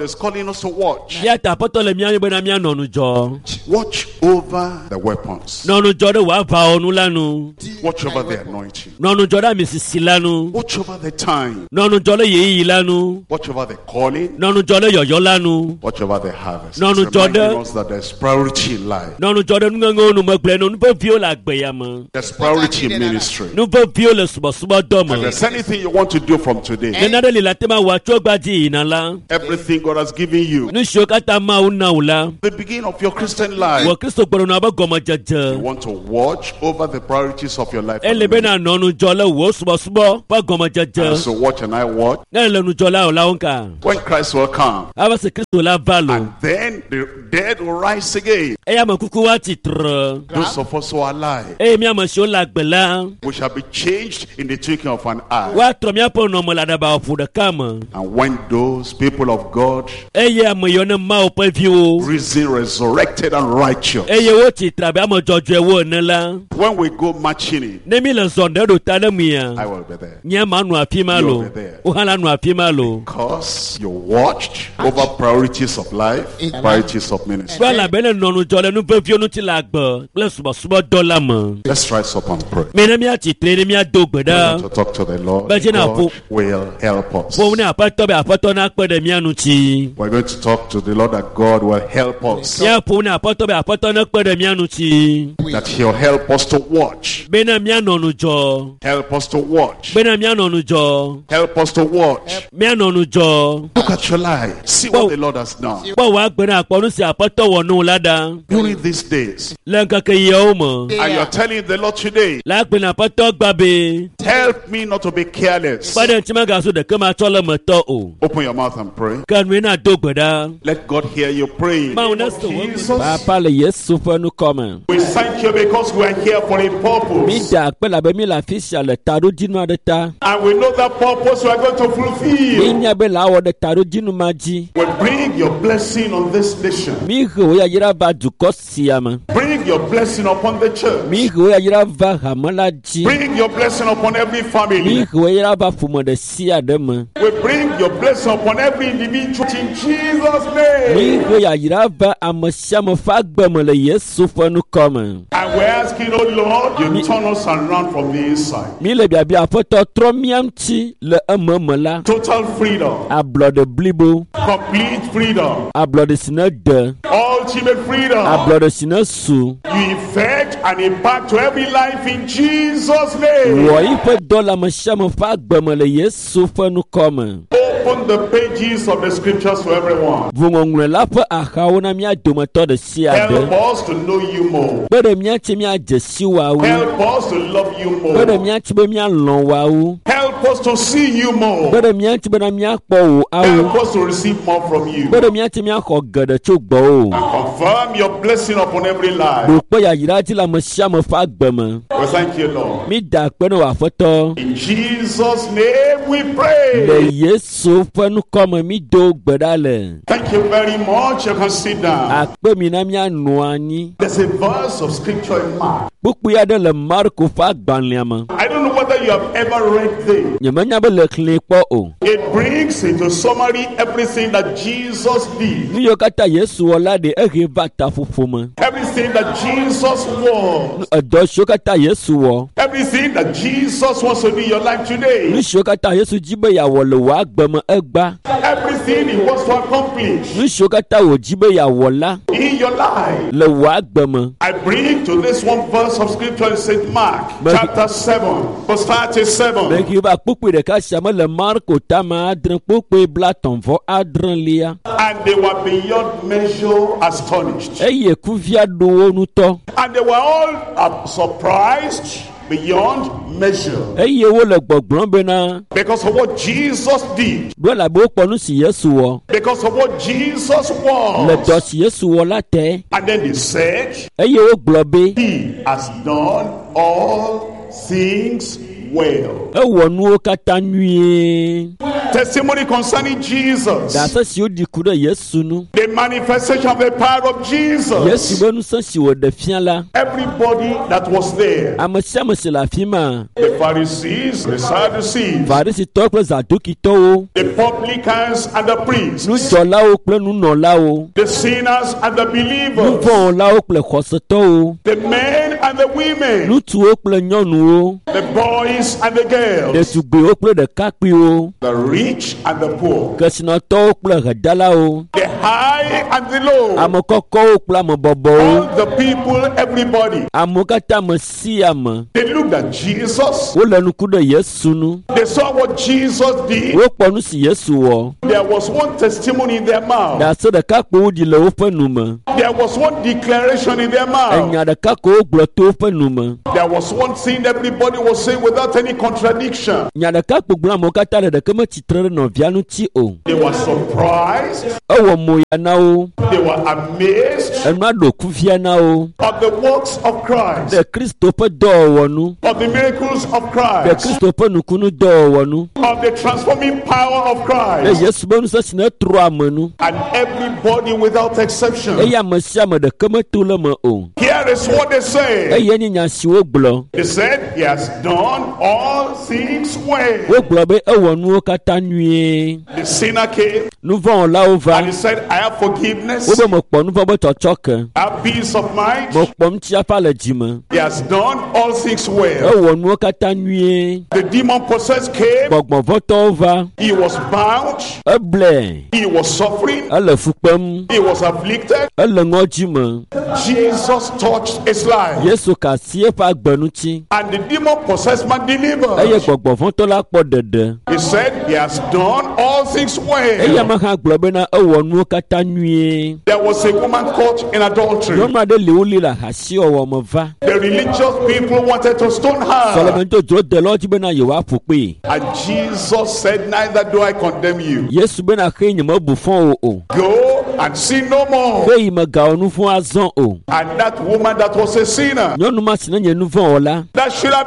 is calling us to watch. Eya ta Aƒetɔ le mía yɔm bena míanɔ ŋudzɔ. Watch over the weapons. Nɔ ŋudzɔ ɖe wò aʋawɔnu la nu. Watch over the anointing. Nɔ ŋudzɔ ɖe amisisi la nu. Watch over the time. Nɔ ŋudzɔ ɖe ɣeyiɣi la nu. Watch over the calling. Nɔ ŋudzɔ ɖe yɔyɔ la nu. Watch over the harvest. No, It's no, reminding Jordan. us that there's priority in life. Nɔ ŋudzɔ ɖe nuŋeŋewo nu megblẽ nu. Nu veviwo le agbe ya me. There's priority in ministry. Nu veviwo le subɔsubɔdɔ If me. there's anything you want to do from today, Ne nane li le ate ma wɔ tso egbea dzi yina la, everything God has given you, nu siwo katã Mawu na wò la, the beginning of your Christian life, wɔ Kristo gbɔdɔnɔ ƒe you gɔmedzedze. want to watch over the priorities of your life. Ele be na nɔ ŋudzɔ le wò subɔsubɔ ƒe gɔmedzedze. And so watch and I watch. Ne ele ŋudzɔ la o la wo ŋka. When Christ will come, Ava se Kristo la va lo. and then the dead will rise again. Eya ame kuku wa tsitre. Those of us who are alive, Eye mía ame siwo le agbe la, we shall be changed in the twinkling of an eye. woatrɔ míaƒe nɔnɔme le aɖabaƒoƒo ɖeka me. And when those people of God, Eye ame yiwo ne Mawu ƒe viwo, risen, resurrected, and righteous, eye wotsitre abe ame dzɔdzɔewo ene la, when we go marching in, ne mi le zɔm ɖe ɖo ta ɖe mia, I will be there. nye ma nɔ afi ma You lo, will be there. wo hã la nɔ afi ma lo. Because you watched over priorities of life, priorities of ministry. Kple elabe ne nɔ ŋudzɔ le nu veviwo ŋuti le agbe kple subɔsubɔdɔ la me. Let's rise up and pray. Mi ne míatsitre ne míado gbe We ɖa. want to talk to the Lord. But you know, God will help us. Ƒo ne Aƒetɔ be Aƒetɔ nakpe ɖe mía ŋuti. We're going to talk to the Lord that God will help us. Míaƒo ne Aƒetɔ be Aƒetɔ nekpe ɖe mía ŋuti. That He'll help us to watch. Bena míanɔ ŋudzɔ. Help us to watch. Bena míanɔ ŋudzɔ. Help us to watch. Míanɔ ŋudzɔ. Look at your life. See what the Lord has done. Kpɔ wò agbe ne akpɔ nu si Aƒetɔ wɔ nɛ la ɖa. During these days. Le ŋkeke yiawo me. And you're telling the Lord today, Le agbe ne Aƒetɔ gba be. help me not to be careless. Kpe ɖe ŋuti megazu ɖeke matsɔ le metɔ o. Open your mouth and pray. Ke nue na do gbe ɖa. Let God hear you praying. Mawu ne se wò Jesus, Papa le Yesu ƒe ŋkɔ me. we thank you because we are here for a Mi purpose. da akpe labe mi le afi sia le taɖodzinu aɖe ta. And we know that purpose we are going to Mi fulfill. nya be le awɔ ɖe taɖodzinu ma dzi. We bring your blessing on this nation. Mi he wò yayra va dukɔ sia me. Bring your blessing upon the church. Mi he wò yayra va hame la dzi. Bring your blessing upon every Mi family. he wò yayra va ƒome ɖe sia ɖe me. We bring your blessing upon every individual in Jesus' Mi name. he yayra va ame sia ame ƒe agbe me le Yesu ƒe ŋkɔ me. And we're asking, oh Lord, you turn us around from the inside. Mi le biabia Aƒetɔ trɔ mía ŋuti le ememe la. Total freedom, Ablɔɖe blibo, complete freedom, ablɔɖe si ne de, ultimate freedom. ablɔɖe si ne su. You effect and impact to every life in Jesus' name. Wɔ yiƒe dɔ le ame sia ame ƒe agbe me le Yesu ƒe ŋkɔ me. Open the pages of the scriptures to everyone. Ʋu ŋɔŋlɔe la ƒe axawo na mía dometɔ ɖe sia Help ɖe. us to know you more. Kpe ɖe mía ŋuti míadze si woawo. Help us to love you Kpe ɖe more. mía ŋuti be míalɔ̃ woawo. Help us to see you Kpe more. ɖe mía ŋuti bena míakpɔ wò awo. Help us to receive more from you. Kpe ɖe mía ŋuti míaxɔ geɖe tso gbɔwò. And confirm your blessing upon every life. Ɖo kpe yayra dzi le ame sia ame ƒe agbe me. We thank you, Lord. Mi da akpe ne wò Aƒetɔ. In Jesus' name we pray. Le Yesu ƒe ŋkɔ me mi do gbe ɖa le. Thank you very much. You can sit down. Akpe mi na míanɔ anyi. There's a verse of scripture in Mark. Kpukpui aɖe le Marko ƒe agbalẽa me. I don't know whether you have ever read this. Nyemenya be le xlẽe kpɔ o. It brings into summary everything that Jesus did, Nu yiwo katã Yesu wɔ la ɖe ehe va taƒoƒo me. everything that Jesus was, Edɔ siwo katã Yesu wɔ, everything that Jesus wants to do in your life today, nu siwo katã Yesu dzi be yeawɔ le wò agbe me egbea, everything he wants to accomplish nu siwo katã wòdzi be yeawɔ la in your life. le wò agbe me. I bring to this one verse of scripture in St. Mark, chapter 7, verse 37. Mehe va kpukpui ɖeka sia me le Marko tame adre kpukpui blatɔ̃ vɔ adrelia. And they were beyond measure astonished. Eye kuvia ɖo wo ŋutɔ And they were all surprised beyond measure. eye wole gbɔgblɔm bena Because of what Jesus did, ɖo elabe wokpɔ nu si Yesu wɔ because of what Jesus le dɔ was. si Yesu wɔ la te And then they said, eye wogblɔ be He has done all things well. Ewɔ nuwo katã nyuie. Testimony concerning Jesus. Ɖase siwo ɖi ku ɖe Yesu nu. The manifestation of the power of Yesu Jesus. be ŋusẽ si wòɖe fia la, Everybody that was there. ame sia ame si le afi ma, The Pharisees, the Sadducees, Farisitɔwo kple Zadukitɔwo, the publicans and the priests, nudzɔlawo kple nunɔlawo, the sinners and the believers, nuvɔ̃wɔlawo kple xɔsetɔwo, the men and the women, ŋutsuwo kple nyɔnuwo, the boys and the girls, ɖetugbiwo kple ɖekakpuiwo, the rich and the poor, kesinɔtɔwo kple hedalawo, the high and the low, ame kɔkɔwo kple ame bɔbɔwo, all the people, everybody. amewo katã ame sia ame. They looked at Jesus. Wole nuku ɖe Yesu nu. They saw what Jesus did. Wokpɔ nu si Yesu wɔ. There was one testimony in their mouth. Ɖase ɖeka ko woɖi le woƒe nu me. There was one declaration in their mouth. Enya ɖeka ko wogblɔ to woƒe nu me. There was one thing everybody was saying without any contradiction. Nya ɖeka ko gblɔm amewo katã le ɖeke metsitre ɖe nɔvia ŋuti o. They were surprised. Ewɔ moya na wo. They were amazed Enua ɖo kuvia na wo. of the works of Christ, Ɖe Kristo ƒe dɔwɔwɔ nu. of the miracles of Ɖe Christ, Kristo ƒe nukunu dɔwɔwɔ nu. of the transforming power of Ɖe Christ. Yesu be ŋusẽ si netrɔ ame nu. And everybody without exception. Eye ame sia ame ɖeke meto le eme o. Here is what they say. Eye nye nya si wogblɔ. They said, He has done all things well. Wogblɔ be ewɔ nuwo katã nyuie. The sinner came Nuvɔ̃wɔlawo va. and he said, I have forgiveness, Wobe mekpɔ nuvɔ̃ be tsɔtsɔke. I have peace of mind. Mekpɔ ŋutifafa le dzime. He has done all things well. Ewɔ nuwo katã nyuie. The demon possessed came. Gbɔgbɔvɔtɔwo va. He was bound. Eblɛ. He was suffering. Ele fu kpem. He was afflicted. Ele ŋɔdzi me. Jesus touched his life. Yesu ka asi eƒe agbe ŋuti. And the demon possessed man Eye delivered. gbɔgbɔvɔtɔ la kpɔ ɖeɖe. He said, He has done all things Eye well. ame hã gblɔ bena ewɔ nuwo katã nyuie. There was a woman caught in adultery. Nyɔnu aɖe li woli le ahasiwɔwɔ me va. The religious people wanted to stone her. Sɔlemeŋdodzodelɔwo dzi bena yewoaƒo kpee. And Jesus said, Neither do I condemn you. Yesu bena xee nyemebu fɔ wo o. Go and sin no more. Xeyi megawɔ nu vɔ̃ azɔ o. And that woman that was a sinner, Nyɔnu ma si nenye nu vɔ̃ wɔla, that should have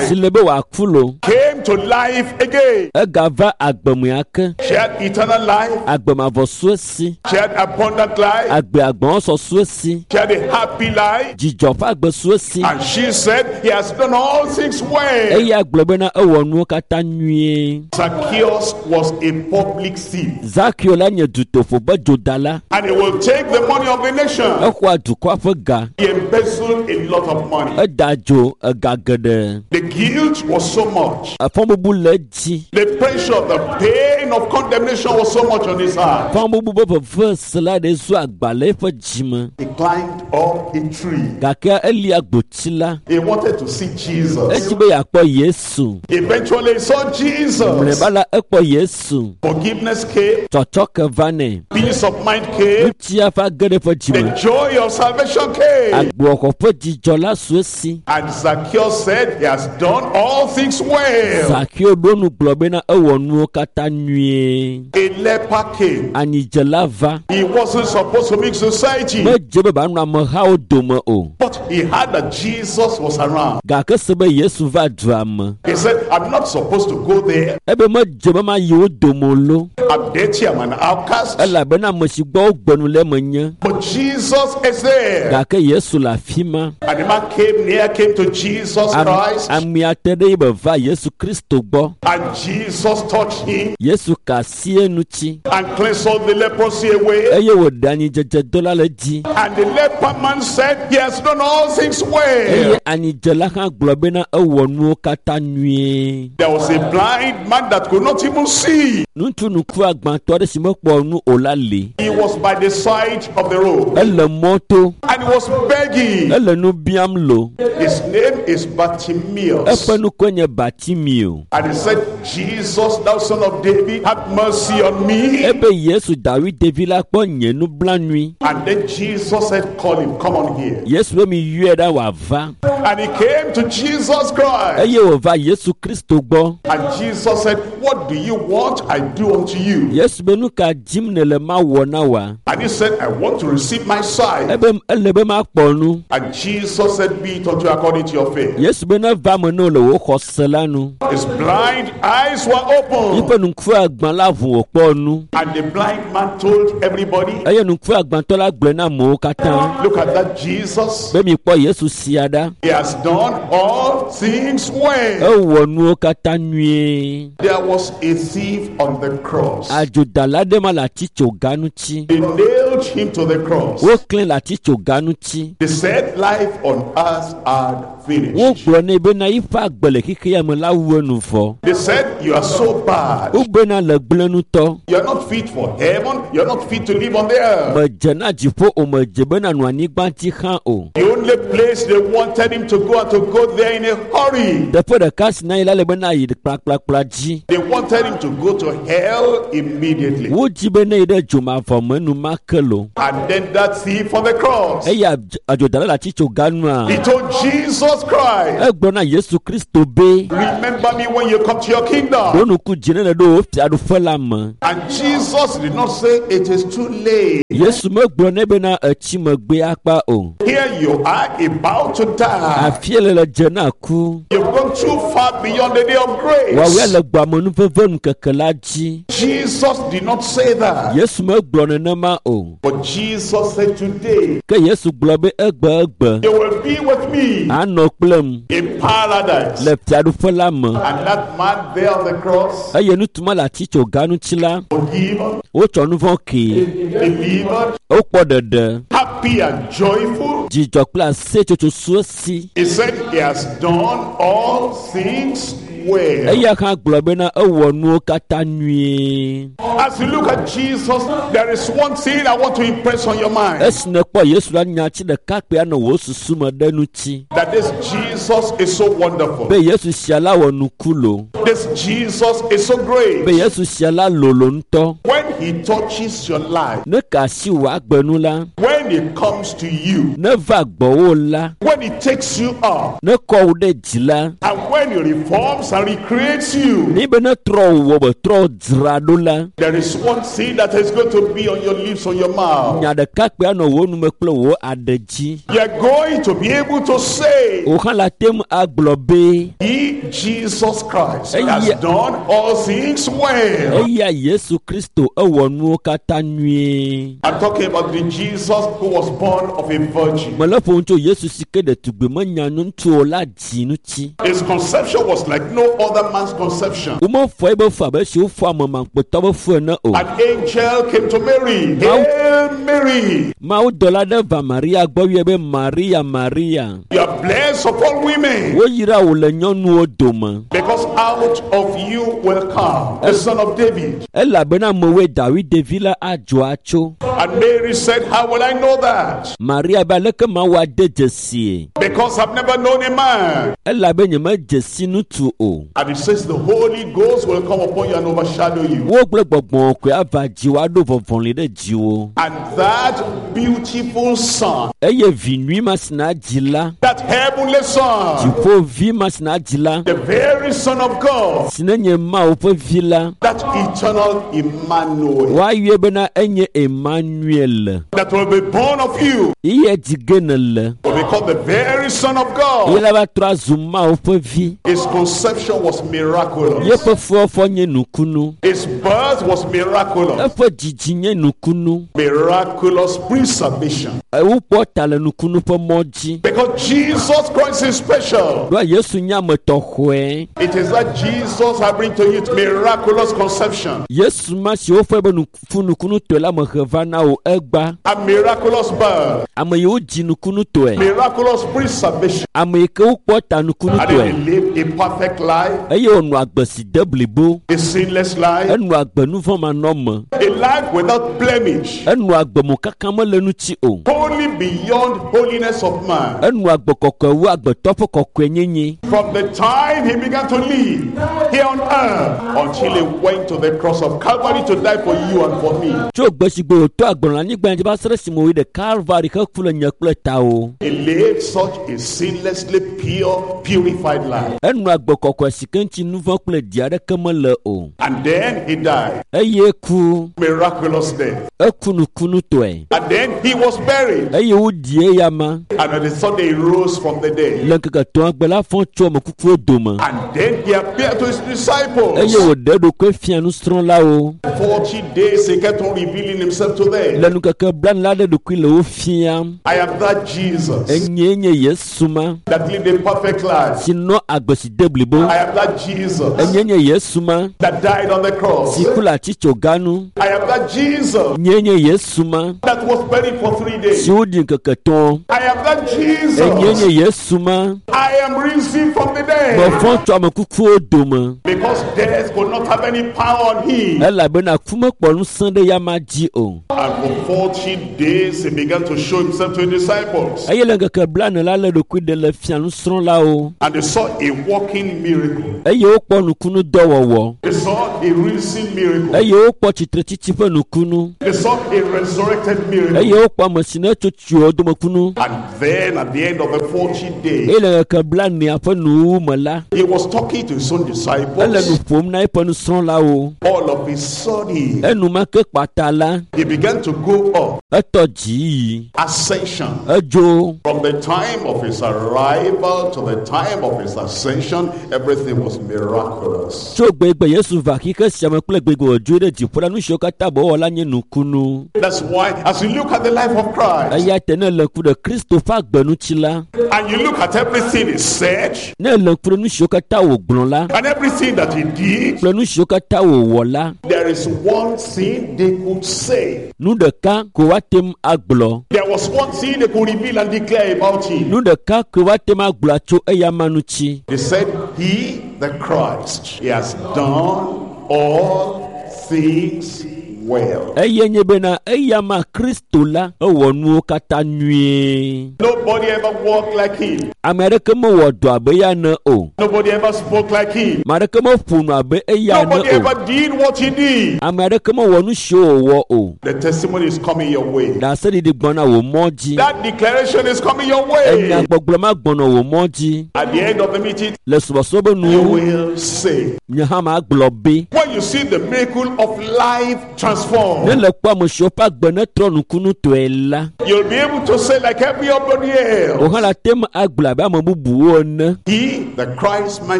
si died, le be wòaku lo, came to life again. egava agbemea ake. She had eternal life. Agbemavɔ su esi. She had abundant life. Agbe agbɔ̃ sɔ su esi. She had a happy life. Dzidzɔ ƒe agbe su esi. And she said, He has done all things well. Eya gblɔ bena ewɔ nuwo katã nyuie. Zacchaeus was a public thief. Zakeo la nye dutoƒo be dzodala. And he will take the money of the nation. Exɔa dukɔa ƒe ga. He embezzled a lot of money. Eda dzo ega geɖe. The guilt was so much. Efɔbubu le edzi. The pressure, the pain of condemnation was so much on his heart. Fɔbubu be veve se la ɖe zu agba le eƒe dzime. He climbed up a tree. Gake elia gboti la. He wanted to see Jesus. Edzi be yeakpɔ Yesu. Eventually, he saw Jesus. Mlɔeba la ekpɔ Yesu. Forgiveness came, Tsɔtsɔke va nɛ. peace of mind came, Ŋutia ƒe age ɖe eƒe dzime. the joy of salvation came. Agboxɔ ƒe dzidzɔ la su esi. And Zacchaeus said, He has done all things well. Zakeo ɖo nu gblɔ bena ewɔ nuwo katã nyuie. A leper came. Anyidzela va. He wasn't supposed to mix society, Medze be banɔ amehawo dome o. but he heard that Jesus was around. Gake se be Yesu va dua me. He said, I'm not supposed to go there. Ebe medze be mayi wo dome o lo. I'm dirty, I'm an outcast. Elabena ame si gbɔ wogbe nu le eme nye. But Jesus is there. Gake Yesu le afi ma. And the man came near, came to Jesus Christ, Amea te ɖe yi be va Yesu Kristo gbɔ. and Jesus touched him Yesu ka asi eŋuti and cleansed all the leprosy away. eye wòɖe anyidzedze la le edzi. And the leper man said, He has done all things well. Eye anyidzela hã gblɔ bena ewɔ nuwo katã nyuie. There was a blind man that could not even see. Ŋutsu nuku agbãtɔ aɖe si mekpɔ nu o la li. He was by the side of the road Ele mɔto, and he was begging. ele nu biam lo. His name is Bartimaeus. Eƒe nukue nye Bartimeo. And he said, Jesus, thou son of David, have mercy on me. Ebe Yesu David ɖevi la kpɔ nye nublanui. And then Jesus said, Call him, come on here. Yesu be mi yɔe ɖa wòava. And he came to Jesus Christ. Eye wòva Yesu Kristo gbɔ. And Jesus said, What do you want I do unto you? Yesu be nu ka dim nèle mawɔ na wòa? And he said, I want to receive receive my sight. Ebe ele be makpɔ nu. And Jesus said, Be it unto you according to your faith. Yesu be neva eme ne wò le wò xɔse la nu. His blind eyes were opened. Yiƒe ŋku agbã la ʋu wòkpɔ nu. And the blind man told everybody, Eye ŋku agbãtɔ la gblɔe na amewo katã Look at that Jesus. be mikpɔ Yesu sia ɖa. He has done all things well. Ewɔ nuwo katã nyuie. There was a thief on the cross. Adzodala ɖe ma le atitsoga ŋuti. They nailed him to the cross. Woklẽ le atitsoga ŋuti. They said life on earth had finished. Wogblɔ nɛ bena yiƒe agbe le xexea me la wu enu vɔ. They said, You are so bad. Wobena le gblẽ ŋutɔ. You are not fit for heaven. You are not fit to live on the earth. Medze na dziƒo o, medze bena nɔ anyigba dzi hã o. The only place they wanted him to go and to go there in a hurry. Teƒe ɖeka si na yi la le bena yi kplakplakpla dzi. They wanted him to go to hell immediately. Wodzi be ne yi ɖe dzomavɔ me enumake lo. And then that thief on the cross, Eye adzodala le atitsoga nua, he told Jesus Christ, egblɔ na Yesu Kristo be, Remember me when you come to your kingdom. ɖo ŋku dzi ne le ɖo wò fiaɖuƒe la me. And Jesus did not say it is too late. Yesu megblɔ nɛ bena etsi megbe akpa o. Here you are about to die. Afie le le dze na ku. You've gone too far beyond the day of Woawoe grace. le gbɔ amenuveve ŋkeke la dzi. Jesus did not say that. Yesu megblɔ nenema o. But Jesus said, Today Ke Yesu gblɔ be egbe egbe you will be with me anɔ kplem in paradise. le fiaɖuƒe la me. And that man there on the cross, Eye nutuma le atitsoga ŋuti la, forgiven, wotsɔ nu vɔ̃ kee. delivered, Wokpɔ ɖeɖe, happy and joyful. dzidzɔ kple aseyetsotso su esi. He said he has done all things well. Eya hã gblɔ bena ewɔ nuwo katã nyuie. As you look at Jesus, there is one thing I want to impress on your mind. Esi nèkpɔ Yesu la, nyati ɖeka kpe anɔ wò susu me ɖe ŋuti That this Jesus is so wonderful. be Yesu sia la wɔ nuku lo, This Jesus is so be great. Yesu sia la lolo ŋutɔ. When he touches your life, Ne ka asi wò agbe nu la, when he comes to you, ne va gbɔwò la, when he takes you up, ne kɔ wò ɖe dzi la, and when he reforms and recreates you, ni be ne trɔ wò wɔ be trɔ dzra ɖo la, there is one thing that is going to be on your lips, on your mouth. nya ɖeka kpe anɔ wò nume kple wò aɖe dzi. You are going to be able to say, Wò hã la te ŋu agblɔ be He, Jesus Christ, has Yeah. done all things well. eya Yesu Kristo ewɔ nuwo katã nyuie. I'm talking about the Jesus who was born of a virgin. Mele ƒom tso Yesu si ke ɖetugbi menya ŋutsu o la dzi ŋuti. His conception was like no other man's conception. Womefɔ ebe fu abe esi wofɔ ame makpɔtɔ be fu ene o. An angel came to Mary. Hail Mary, Mawudɔla ɖe va Maria gbɔ yɔe be Maria, Maria. you are blessed of all women, Woyra wò le nyɔnuwo dome because out of you will come the Son of David. elabena amewoe David ɖevi la adzɔ atso. And Mary said, How will I know that? Maria be aleke mawɔ ade dzesie Because I've never known a man. elabe nyemedze si ŋutsu o. And it says the Holy Ghost will come upon you and overshadow you. Wogblẽ gbɔgbɔ kɔe ava dziwò aɖo vɔvɔli ɖe dziwò. And that beautiful son, Eye vi nyui ma si na dzi la, that heavenly son, dziƒovi ma si na dzi la, the very Son of God, si ne nye Mawu ƒe vi la, that eternal Emmanuel, woayɔe bena enye Emmanuel. that will be born of you, Iye dzi ge nèle. will be called the very Son of Ye God. la va trɔ azu Mawu ƒe vi. His conception was miraculous. Yeƒe fuwɔfɔ nye nukunu. His birth was miraculous. Eƒe dzidzi nye nukunu. Miraculous preservation. Wokpɔ ta le nukunu ƒe mɔ dzi. Because Jesus Christ is special. Ɖoa Yesu nye ame tɔxɔe. It is that Jesus I bring to you miraculous conception Yesu ma si wofɔe be fu nukunutɔe la mehe va na wò egba. a miraculous birth, Ame yiwo dzi nukunutɔe. miraculous preservation. Ame yi ke wokpɔ ta And nukunutɔe. then he lived a perfect life, Eye wònɔ agbe si de blibo. a sinless life, Enɔ agbe nuvɔ̃manɔme. a life without blemish, Enɔ agbe mokaka mele ŋuti o. holy beyond holiness of man. Enɔ agbe kɔkɔe wu agbetɔ ƒe kɔkɔenyenye. From the time he began to live here on earth until he went to the cross of Calvary to die for you and for me. Tso gbe si gbe wòtɔ agbe nɔ anyigba dzi va se se ɖe esime wòyi ɖe Kalvari heku le nye kple tawo. He lived such a sinlessly pure, purified life. Enɔ agbe kɔkɔe si ke ŋuti nu vɔ̃ kple di aɖeke mele o. And then he died. Eye ku, Miraculous death. eku nukunutɔe. And then he was buried. Eye woɖi eya ma. And on the third day he rose from the dead. Le ŋkeke etɔ̃a gbe la fɔ tso ame kukuwo dome. And then he appeared to his disciples. Eye wòɖe eɖokui fia nusrɔ̃lawo. 40 days he kept on revealing himself to them. Le ŋkeke blaene la ɖe eɖokui le wo fiam. I am that Jesus Enyee nye Yesu ma that lived a perfect life. si nɔ agbe si de blibo. I am that Jesus Enyee nye Yesu ma that died on the cross. si ku le atitsoga nu. I am that Jesus Nyee nye Yesu ma that was buried for 3 days. si woɖi ŋkeke etɔ̃. I am that Enyee nye Jesus. Yesu ma I am risen from the dead. mefɔ tso ame kukuwo dome. Because death could not have any power on him. Elabena ku mekpɔ ŋusẽ ɖe ya ma dzi o. And for 40 days he began to show himself to his disciples. Eye le ŋkeke blaene la lé ɖokui ɖe le fia nusrɔ̃lawo. And they saw a walking miracle. Eye wokpɔ nukunudɔwɔwɔ. They saw a risen miracle. Eye wokpɔ tsitretsitsi ƒe nukunu. They saw a resurrected miracle. Eye wokpɔ ame si ne tso tsiwo dome kunu. And then at the end of the 40 days, Eye le ŋkeke blaenea ƒe nuwuwu me la, he was talking to his own ele nu disciples. ƒom na eƒe nusrɔ̃lawo. All of a sudden, Enumake kpata la, he began to go up. etɔ dzi yi. Ascension. Edzo. From the time of his arrival to the time of his ascension, everything was miraculous. Tso gbegbe Yesu va xixe sia me kple gbegbe wòdzoe ɖe dziƒo la, nu siwo katã be la nye nukunu. That's why, as you look at the life of Christ, Eya ta ne le ŋku ɖe Kristo ƒe agbe ŋuti la, and you look at everything he said, ne le ŋku ɖe nu siwo katã wògblɔ la and everything that he did, kple nu siwo katã wòwɔ la, there is one thing they could say. nu ɖeka ko woate ŋu agblɔ. There was one thing they could reveal and declare about him. Nu ɖeka ko woate ŋu agblɔ tso eyama ŋuti. They said, He, the Christ, he has done all things well. Eye nye bena eyama Kristo la ewɔ nuwo katã nyuie. Nobody ever walked like him. Ame aɖeke mewɔ dɔ abe eya ene o. Nobody ever spoke like him. Ame aɖeke meƒo nu abe eya ene Nobody o. ever did what he did. Ame aɖeke mewɔ nu siwo wòwɔ o. The testimony is coming your way. Ɖaseɖiɖi gbɔna wò mɔ dzi. That declaration is coming your way. Enyagbɔgblɔ ma gbɔnɔ wò mɔ dzi. At the end of the meeting, Le subɔsubɔ be you nuwo, will say, nye hã magblɔ be, when you see the miracle of life ne transformed, le kpɔ ame siwo ƒe agbe netrɔ nukunutɔe la, you'll be able to say, like everybody wò hã else, la te ŋu agblɔ abe ame bubuwo ene. He, the Christ, my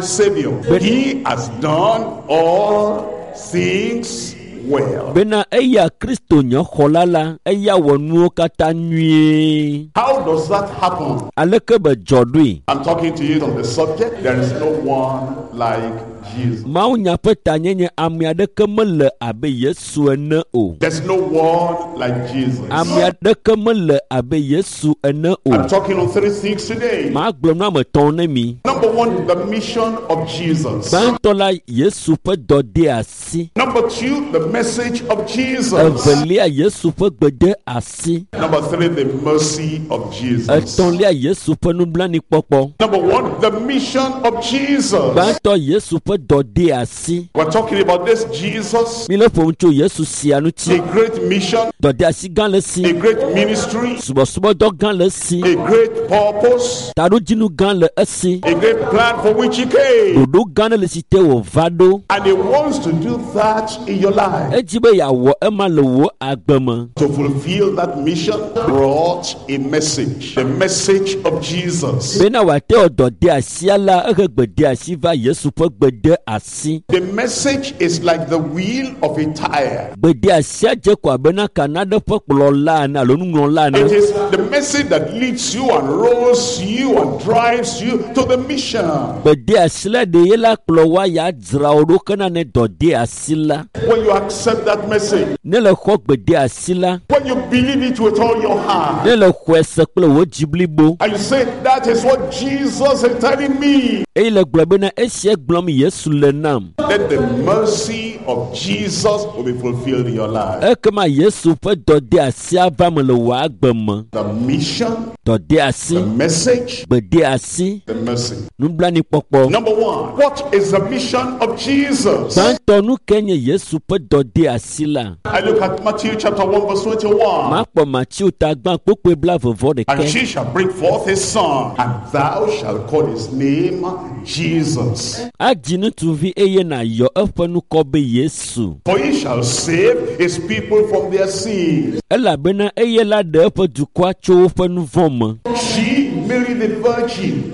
Savior, he has done all things well. Bena eya Kristo nye xɔla la, eya wɔ nuwo katã nyuie. How does that happen? Aleke be dzɔ ɖoe? I'm talking to you on the subject. There is no one like Jesus. Mawunya ƒe tanyenye ame aɖeke mele abe Yesu ene o. There's no one like Jesus. Ame aɖeke mele abe Yesu ene o. I'm talking on three things today. Magblɔ nu ame etɔ̃ ne mi. Number one, the mission of Jesus. Gbãtɔ la, Yesu ƒe dɔdeasi. Number two, the message of Jesus. Evelia, Yesu ƒe gbedeasi. Number three, the mercy of Jesus. Etɔ̃lia, Yesu ƒe nublanuikpɔkpɔ. Number one, the mission of Jesus. Gbãtɔ, Yesu ƒe dɔdeasi. We're talking about this Jesus, Mi le ƒom tso Yesu sia a ŋuti. great mission, Dɔdeasi gã le esi. a great ministry, Subɔsubɔdɔ gã le esi. a great purpose, Taɖodzinu gã le esi. a great plan for which he came. Ɖoɖo gã ɖe le si te wòva ɖo. And he wants to do that in your life. Edzi be yeawɔ ema le wò agbe me. To fulfill that mission brought a message, the message of Jesus. Bena wòate wɔ dɔdeasia la, ehe gbedeasi va Yesu ƒe gbedeasi. The message is like the wheel of a tire. Gbedeasia dze ko abe na ka naɖe ƒe kplɔla ene alo nuŋlɔla It ene. is the message that leads you and rolls you and drives you to the mission. Gbedeasi la ɖe ye la kplɔ woa ya dzra wò ɖo kena ne dɔdeasi la. When you accept that message, Ne le xɔ gbedeasi la, when you believe it with all your heart, ne le xɔe se kple wò dzi blibo and you say, that is what Jesus is telling me, eye le gblɔ bena esia gblɔm Yesu le nam. then the mercy of Jesus will be fulfilled in your life. Ekema Yesu ƒe dɔdeasia va me le wò agbe me. The mission Dɔdeasi. The message, Gbedeasi. the mercy. Nublanuikpɔkpɔ. Number one, what is the mission of Jesus? Gbãtɔ nu ke nye Yesu ƒe dɔdeasi la. I look at Matthew chapter 1 verse 21. Makpɔ Mateo ta gbã kpokpoe blavevɔ And ɖekɛ. she shall bring forth a son, and thou shalt call his name Jesus. Adzi ŋutsuvi eye nàyɔ eƒe ŋkɔ be Yesu. For he shall save his people from their sins. Elabena eye la ɖe eƒe dukɔa tso woƒe nu vɔ̃ me. She, Mary the Virgin,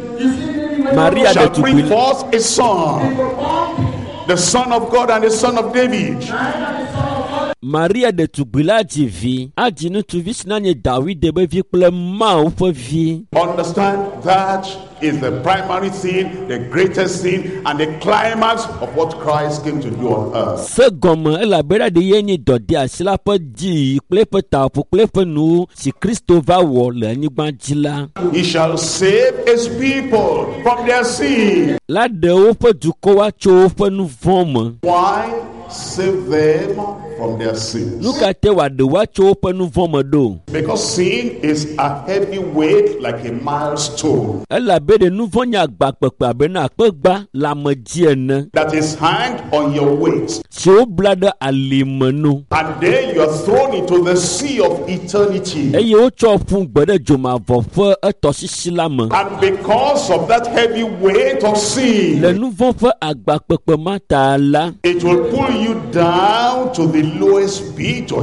Maria shall bring ɖetugbui forth a son, the son of God and the son of David. Maria ɖetugbui la dzi vi. Adzi ŋutsuvi si nanye Dawide be vi kple Mawu ƒe vi. Understand that is the primary thing, the greatest thing, and the climax of what Christ came to do on earth. Se gɔme elabena ɖe ye nye dɔdeasi la ƒe dziyi kple eƒe taƒo kple eƒe nuwo si Kristo va wɔ le anyigba dzi la. He shall save his people from their sin. La ɖe woƒe dukɔwoa tso woƒe nu vɔ̃ me. Why save them from their sins? Nu ka te wòaɖe woa tso woƒe nu vɔ̃ me ɖo? Because sin is a heavy weight like a milestone Elabe ɖe nu vɔ̃ nye agba kpekpe abe na akpegba le ame dzi ene that is hanged on your waist. si wobla ɖe alime nu And then you are thrown into the sea of eternity. eye wotsɔ ƒu gbe ɖe dzomavɔ ƒe etɔsisi la me. And because of that heavy weight of Le sin, nu vɔ̃ ƒe agba kpekpe ma ta la, it will pull you down to the lowest pit, to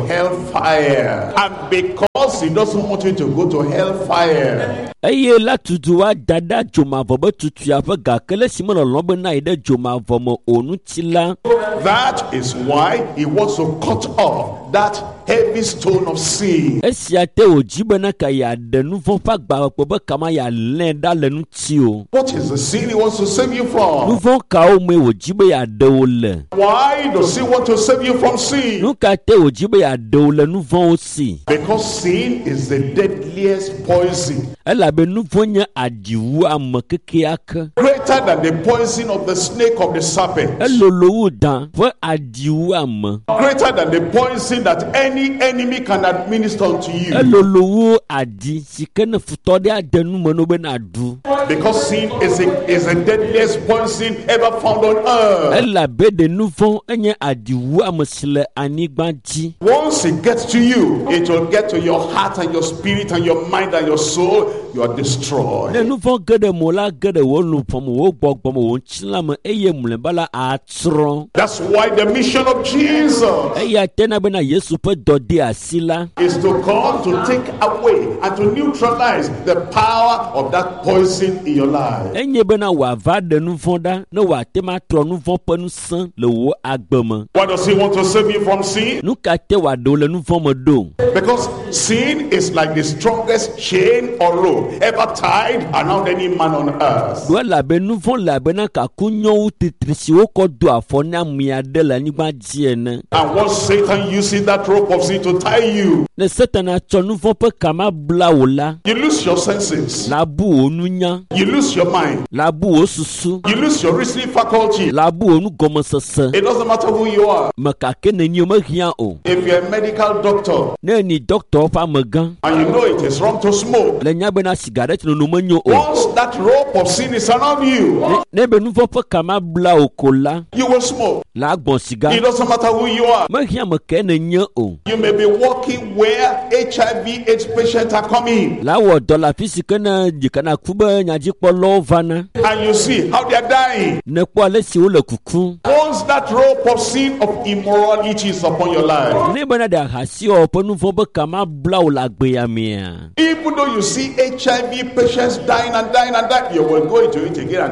hellfire. And because he doesn't want you to go to hellfire, eye la tutu wa da ɖe dzomavɔ be tutuia ƒe gake le si melɔlɔ̃ be na yi ɖe dzomavɔ me o ŋuti la, that is why he wants to cut off that heavy stone of sin. esia te wòdzi bena ka yeaɖe nu vɔ̃ ƒe agba kpekpe be kama yealé ɖa le ŋuti o. What is the sin he wants to save you Nu from? vɔ̃ kawo mee wòdzi be yeaɖe wò le? Why does he want to save you from sin? Nu ka te wòdzi be yeaɖe wò le nu vɔ̃wo si? Because sin is the deadliest poison, Elabe nu vɔ̃ nye aɖiwu ame kekeake. greater than the poison of the snake of the serpent, Elolo wu dan ƒe aɖiwu ame. greater than the poison that any enemy can administer unto you. Elolo wu aɖi si ke ne futɔ ɖe ade nu me no be nàɖu. Because sin is the deadliest poison ever found on earth. Elabe ɖe nu vɔ̃ enye aɖiwu ame si le anyigba dzi. Once it gets to you, it will get to your heart and your spirit and your mind and your soul. You are Ne destroyed. nu vɔ̃ ge ɖe mo la ge ɖe wò luʋɔ me, wò gbɔgbɔ me, wò ŋutilã me eye mlɔeba la atsrɔ̃. That's why the mission of Jesus Eya tena bena Yesu ƒe dɔdeasi la is to come to take away and to neutralize the power of that poison in your life. enye bena wòava ɖe nu vɔ̃ ɖa ne wòate ma trɔ nu vɔ̃ ƒe ŋusẽ le wò agbe me. Why does he want to save you from sin? Nu ka te wòaɖe wò le nu vɔ̃ me ɖo? Because sin is like the strongest chain or rope ever tied around any man on earth. Ɖo elabe nu vɔ̃ le abena kaku nyɔŋu titri si wokɔ do afɔ na ame aɖe le anyigba dzi ene. And once Satan uses that rope of sin to tie you, Ne Satana tsɔ nu vɔ̃ ƒe kama bla wò la, you lose your senses, la bu wò nunya, you lose your mind, la bu wò susu, you lose your reasoning faculty. la bu wò nugɔmesese. It doesn't matter who you are. Me kake nenye mehiã o. If you're a medical doctor Ne eni dɔkitɔwo ƒe amegã and you know it is wrong to smoke, le nya bena sigaret nono menyo o. once that rope of sin is around you, Ne be nu vɔ̃ ƒe kama bla wò ko la, you will smoke. la gbɔn siga. It doesn't matter who you are. Mehiã me ke nenye o. You may be working where HIV AIDS patients are coming, La wɔ dɔ le afi si ke ne dzikana ku be nyadzikpɔlawo vana. and you see how they are dying. Ne kpɔ ale si wole kukum. Once that rope of sin of immorality is upon your life, Ne bena ɖe ahasiwɔwɔ ƒe nu vɔ̃ be kama bla wò le agbea mea. even though you see HIV patients dying and dying and dying, you will go into it again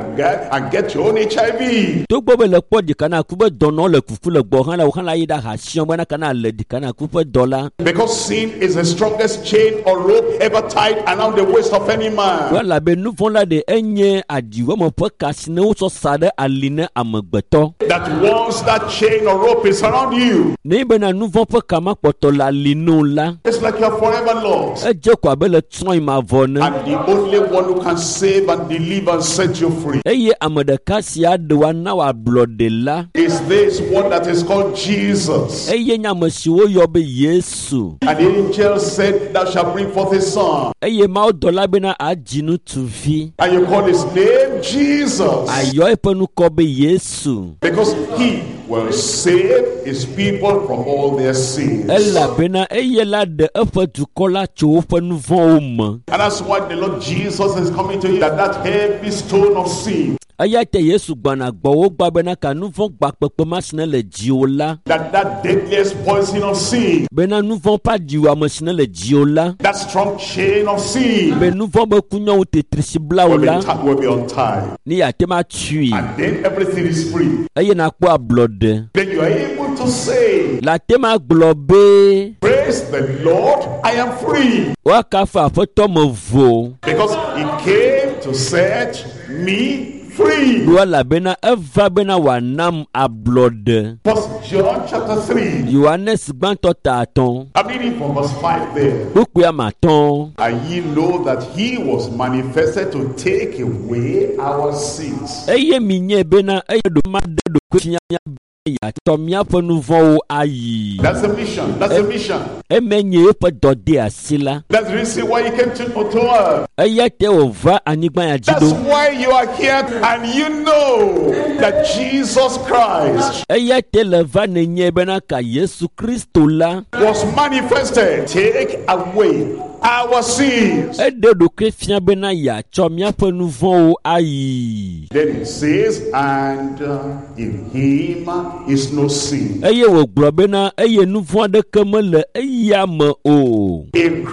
and get your own HIV. Togbɔ be le kpɔ dzikana ku be dɔnɔ le kuku le gbɔ hã la, wò hã la yi ɖe ahasiwɔ bena kana le dzikana ku ƒe dɔ la. Because sin is the strongest chain or rope ever tied around the waist of any man. Ɖo elabe nu vɔ̃ la ɖe enye aɖiwɔme ƒe ka si ne wotsɔ sa ɖe ali ne amegbetɔ. That once that chain or rope is around you, Ne bena nu vɔ̃ ƒe ka ma kpɔtɔ le ali no la, it's like you're forever lost. edze ko abe le tsrɔ̃ mavɔ ne. And the only one who can save and deliver and set you free Eye ame ɖeka si aɖe wa na wòablɔɖe la is this one that is called Jesus. eye nye ame si woyɔ be Yesu. And the angel said, Thou shalt bring forth a son. Eye mawudɔla bena adzi ŋutsuvi. And you call his name Jesus. Ayɔ eƒe ŋkɔ be Yesu. Because he will save his people from all their sins. Elabena eye la ɖe eƒe dukɔ la tso woƒe nu vɔ̃wo me. And that's why the Lord Jesus is coming to you, that heavy stone of sin, Eya ta Yesu gbɔna gbɔwò gbɔ bena ka nu vɔ̃ gba kpekpe ma si ne le dziwò la that deadliest poison of sin, bena nu vɔ̃ ƒe aɖiwɔame si ne le dziwò la that strong chain of sin be nu vɔ̃ be kunyɔŋu tetri si bla wò will la be, will be untied. ne yeate ma tui And then everything is free. Eye nakpɔ ablɔɖe. Then you are able to say, Le ate ma gblɔ be Praise the Lord, I am free. Woakafu aƒetɔ me vo. Because he came to set me free. Ɖo elabena eva bena wòanam ablɔɖe. First John chapter 3. Yohanes gbãtɔ ta atɔ̃. I'm reading from verse 5 there. Kpukpui ame atɔ̃. And ye know that he was manifested to take away our sins. Eye mi nye bena eye ɖo ma ɖe ɖokui fia mía be yeatsɔ míaƒe nu vɔ̃wo ayi. That's the mission. That's the mission. Eme nye eƒe dɔdeasi la. That's the reason why he came to earth. Eya ta wòva anyigba ya dzi That's ɖo. why you are here and you know that Jesus Christ Eya ta le va nenye bena ka Yesu Kristo la was manifested. Take away our sins. Eɖe ɖokui fia bena yeatsɔ míaƒe nu vɔ̃wo ayi. Then it says, and in him is no sin. Eye wògblɔ bena eye nu vɔ̃ aɖeke mele eya me o. In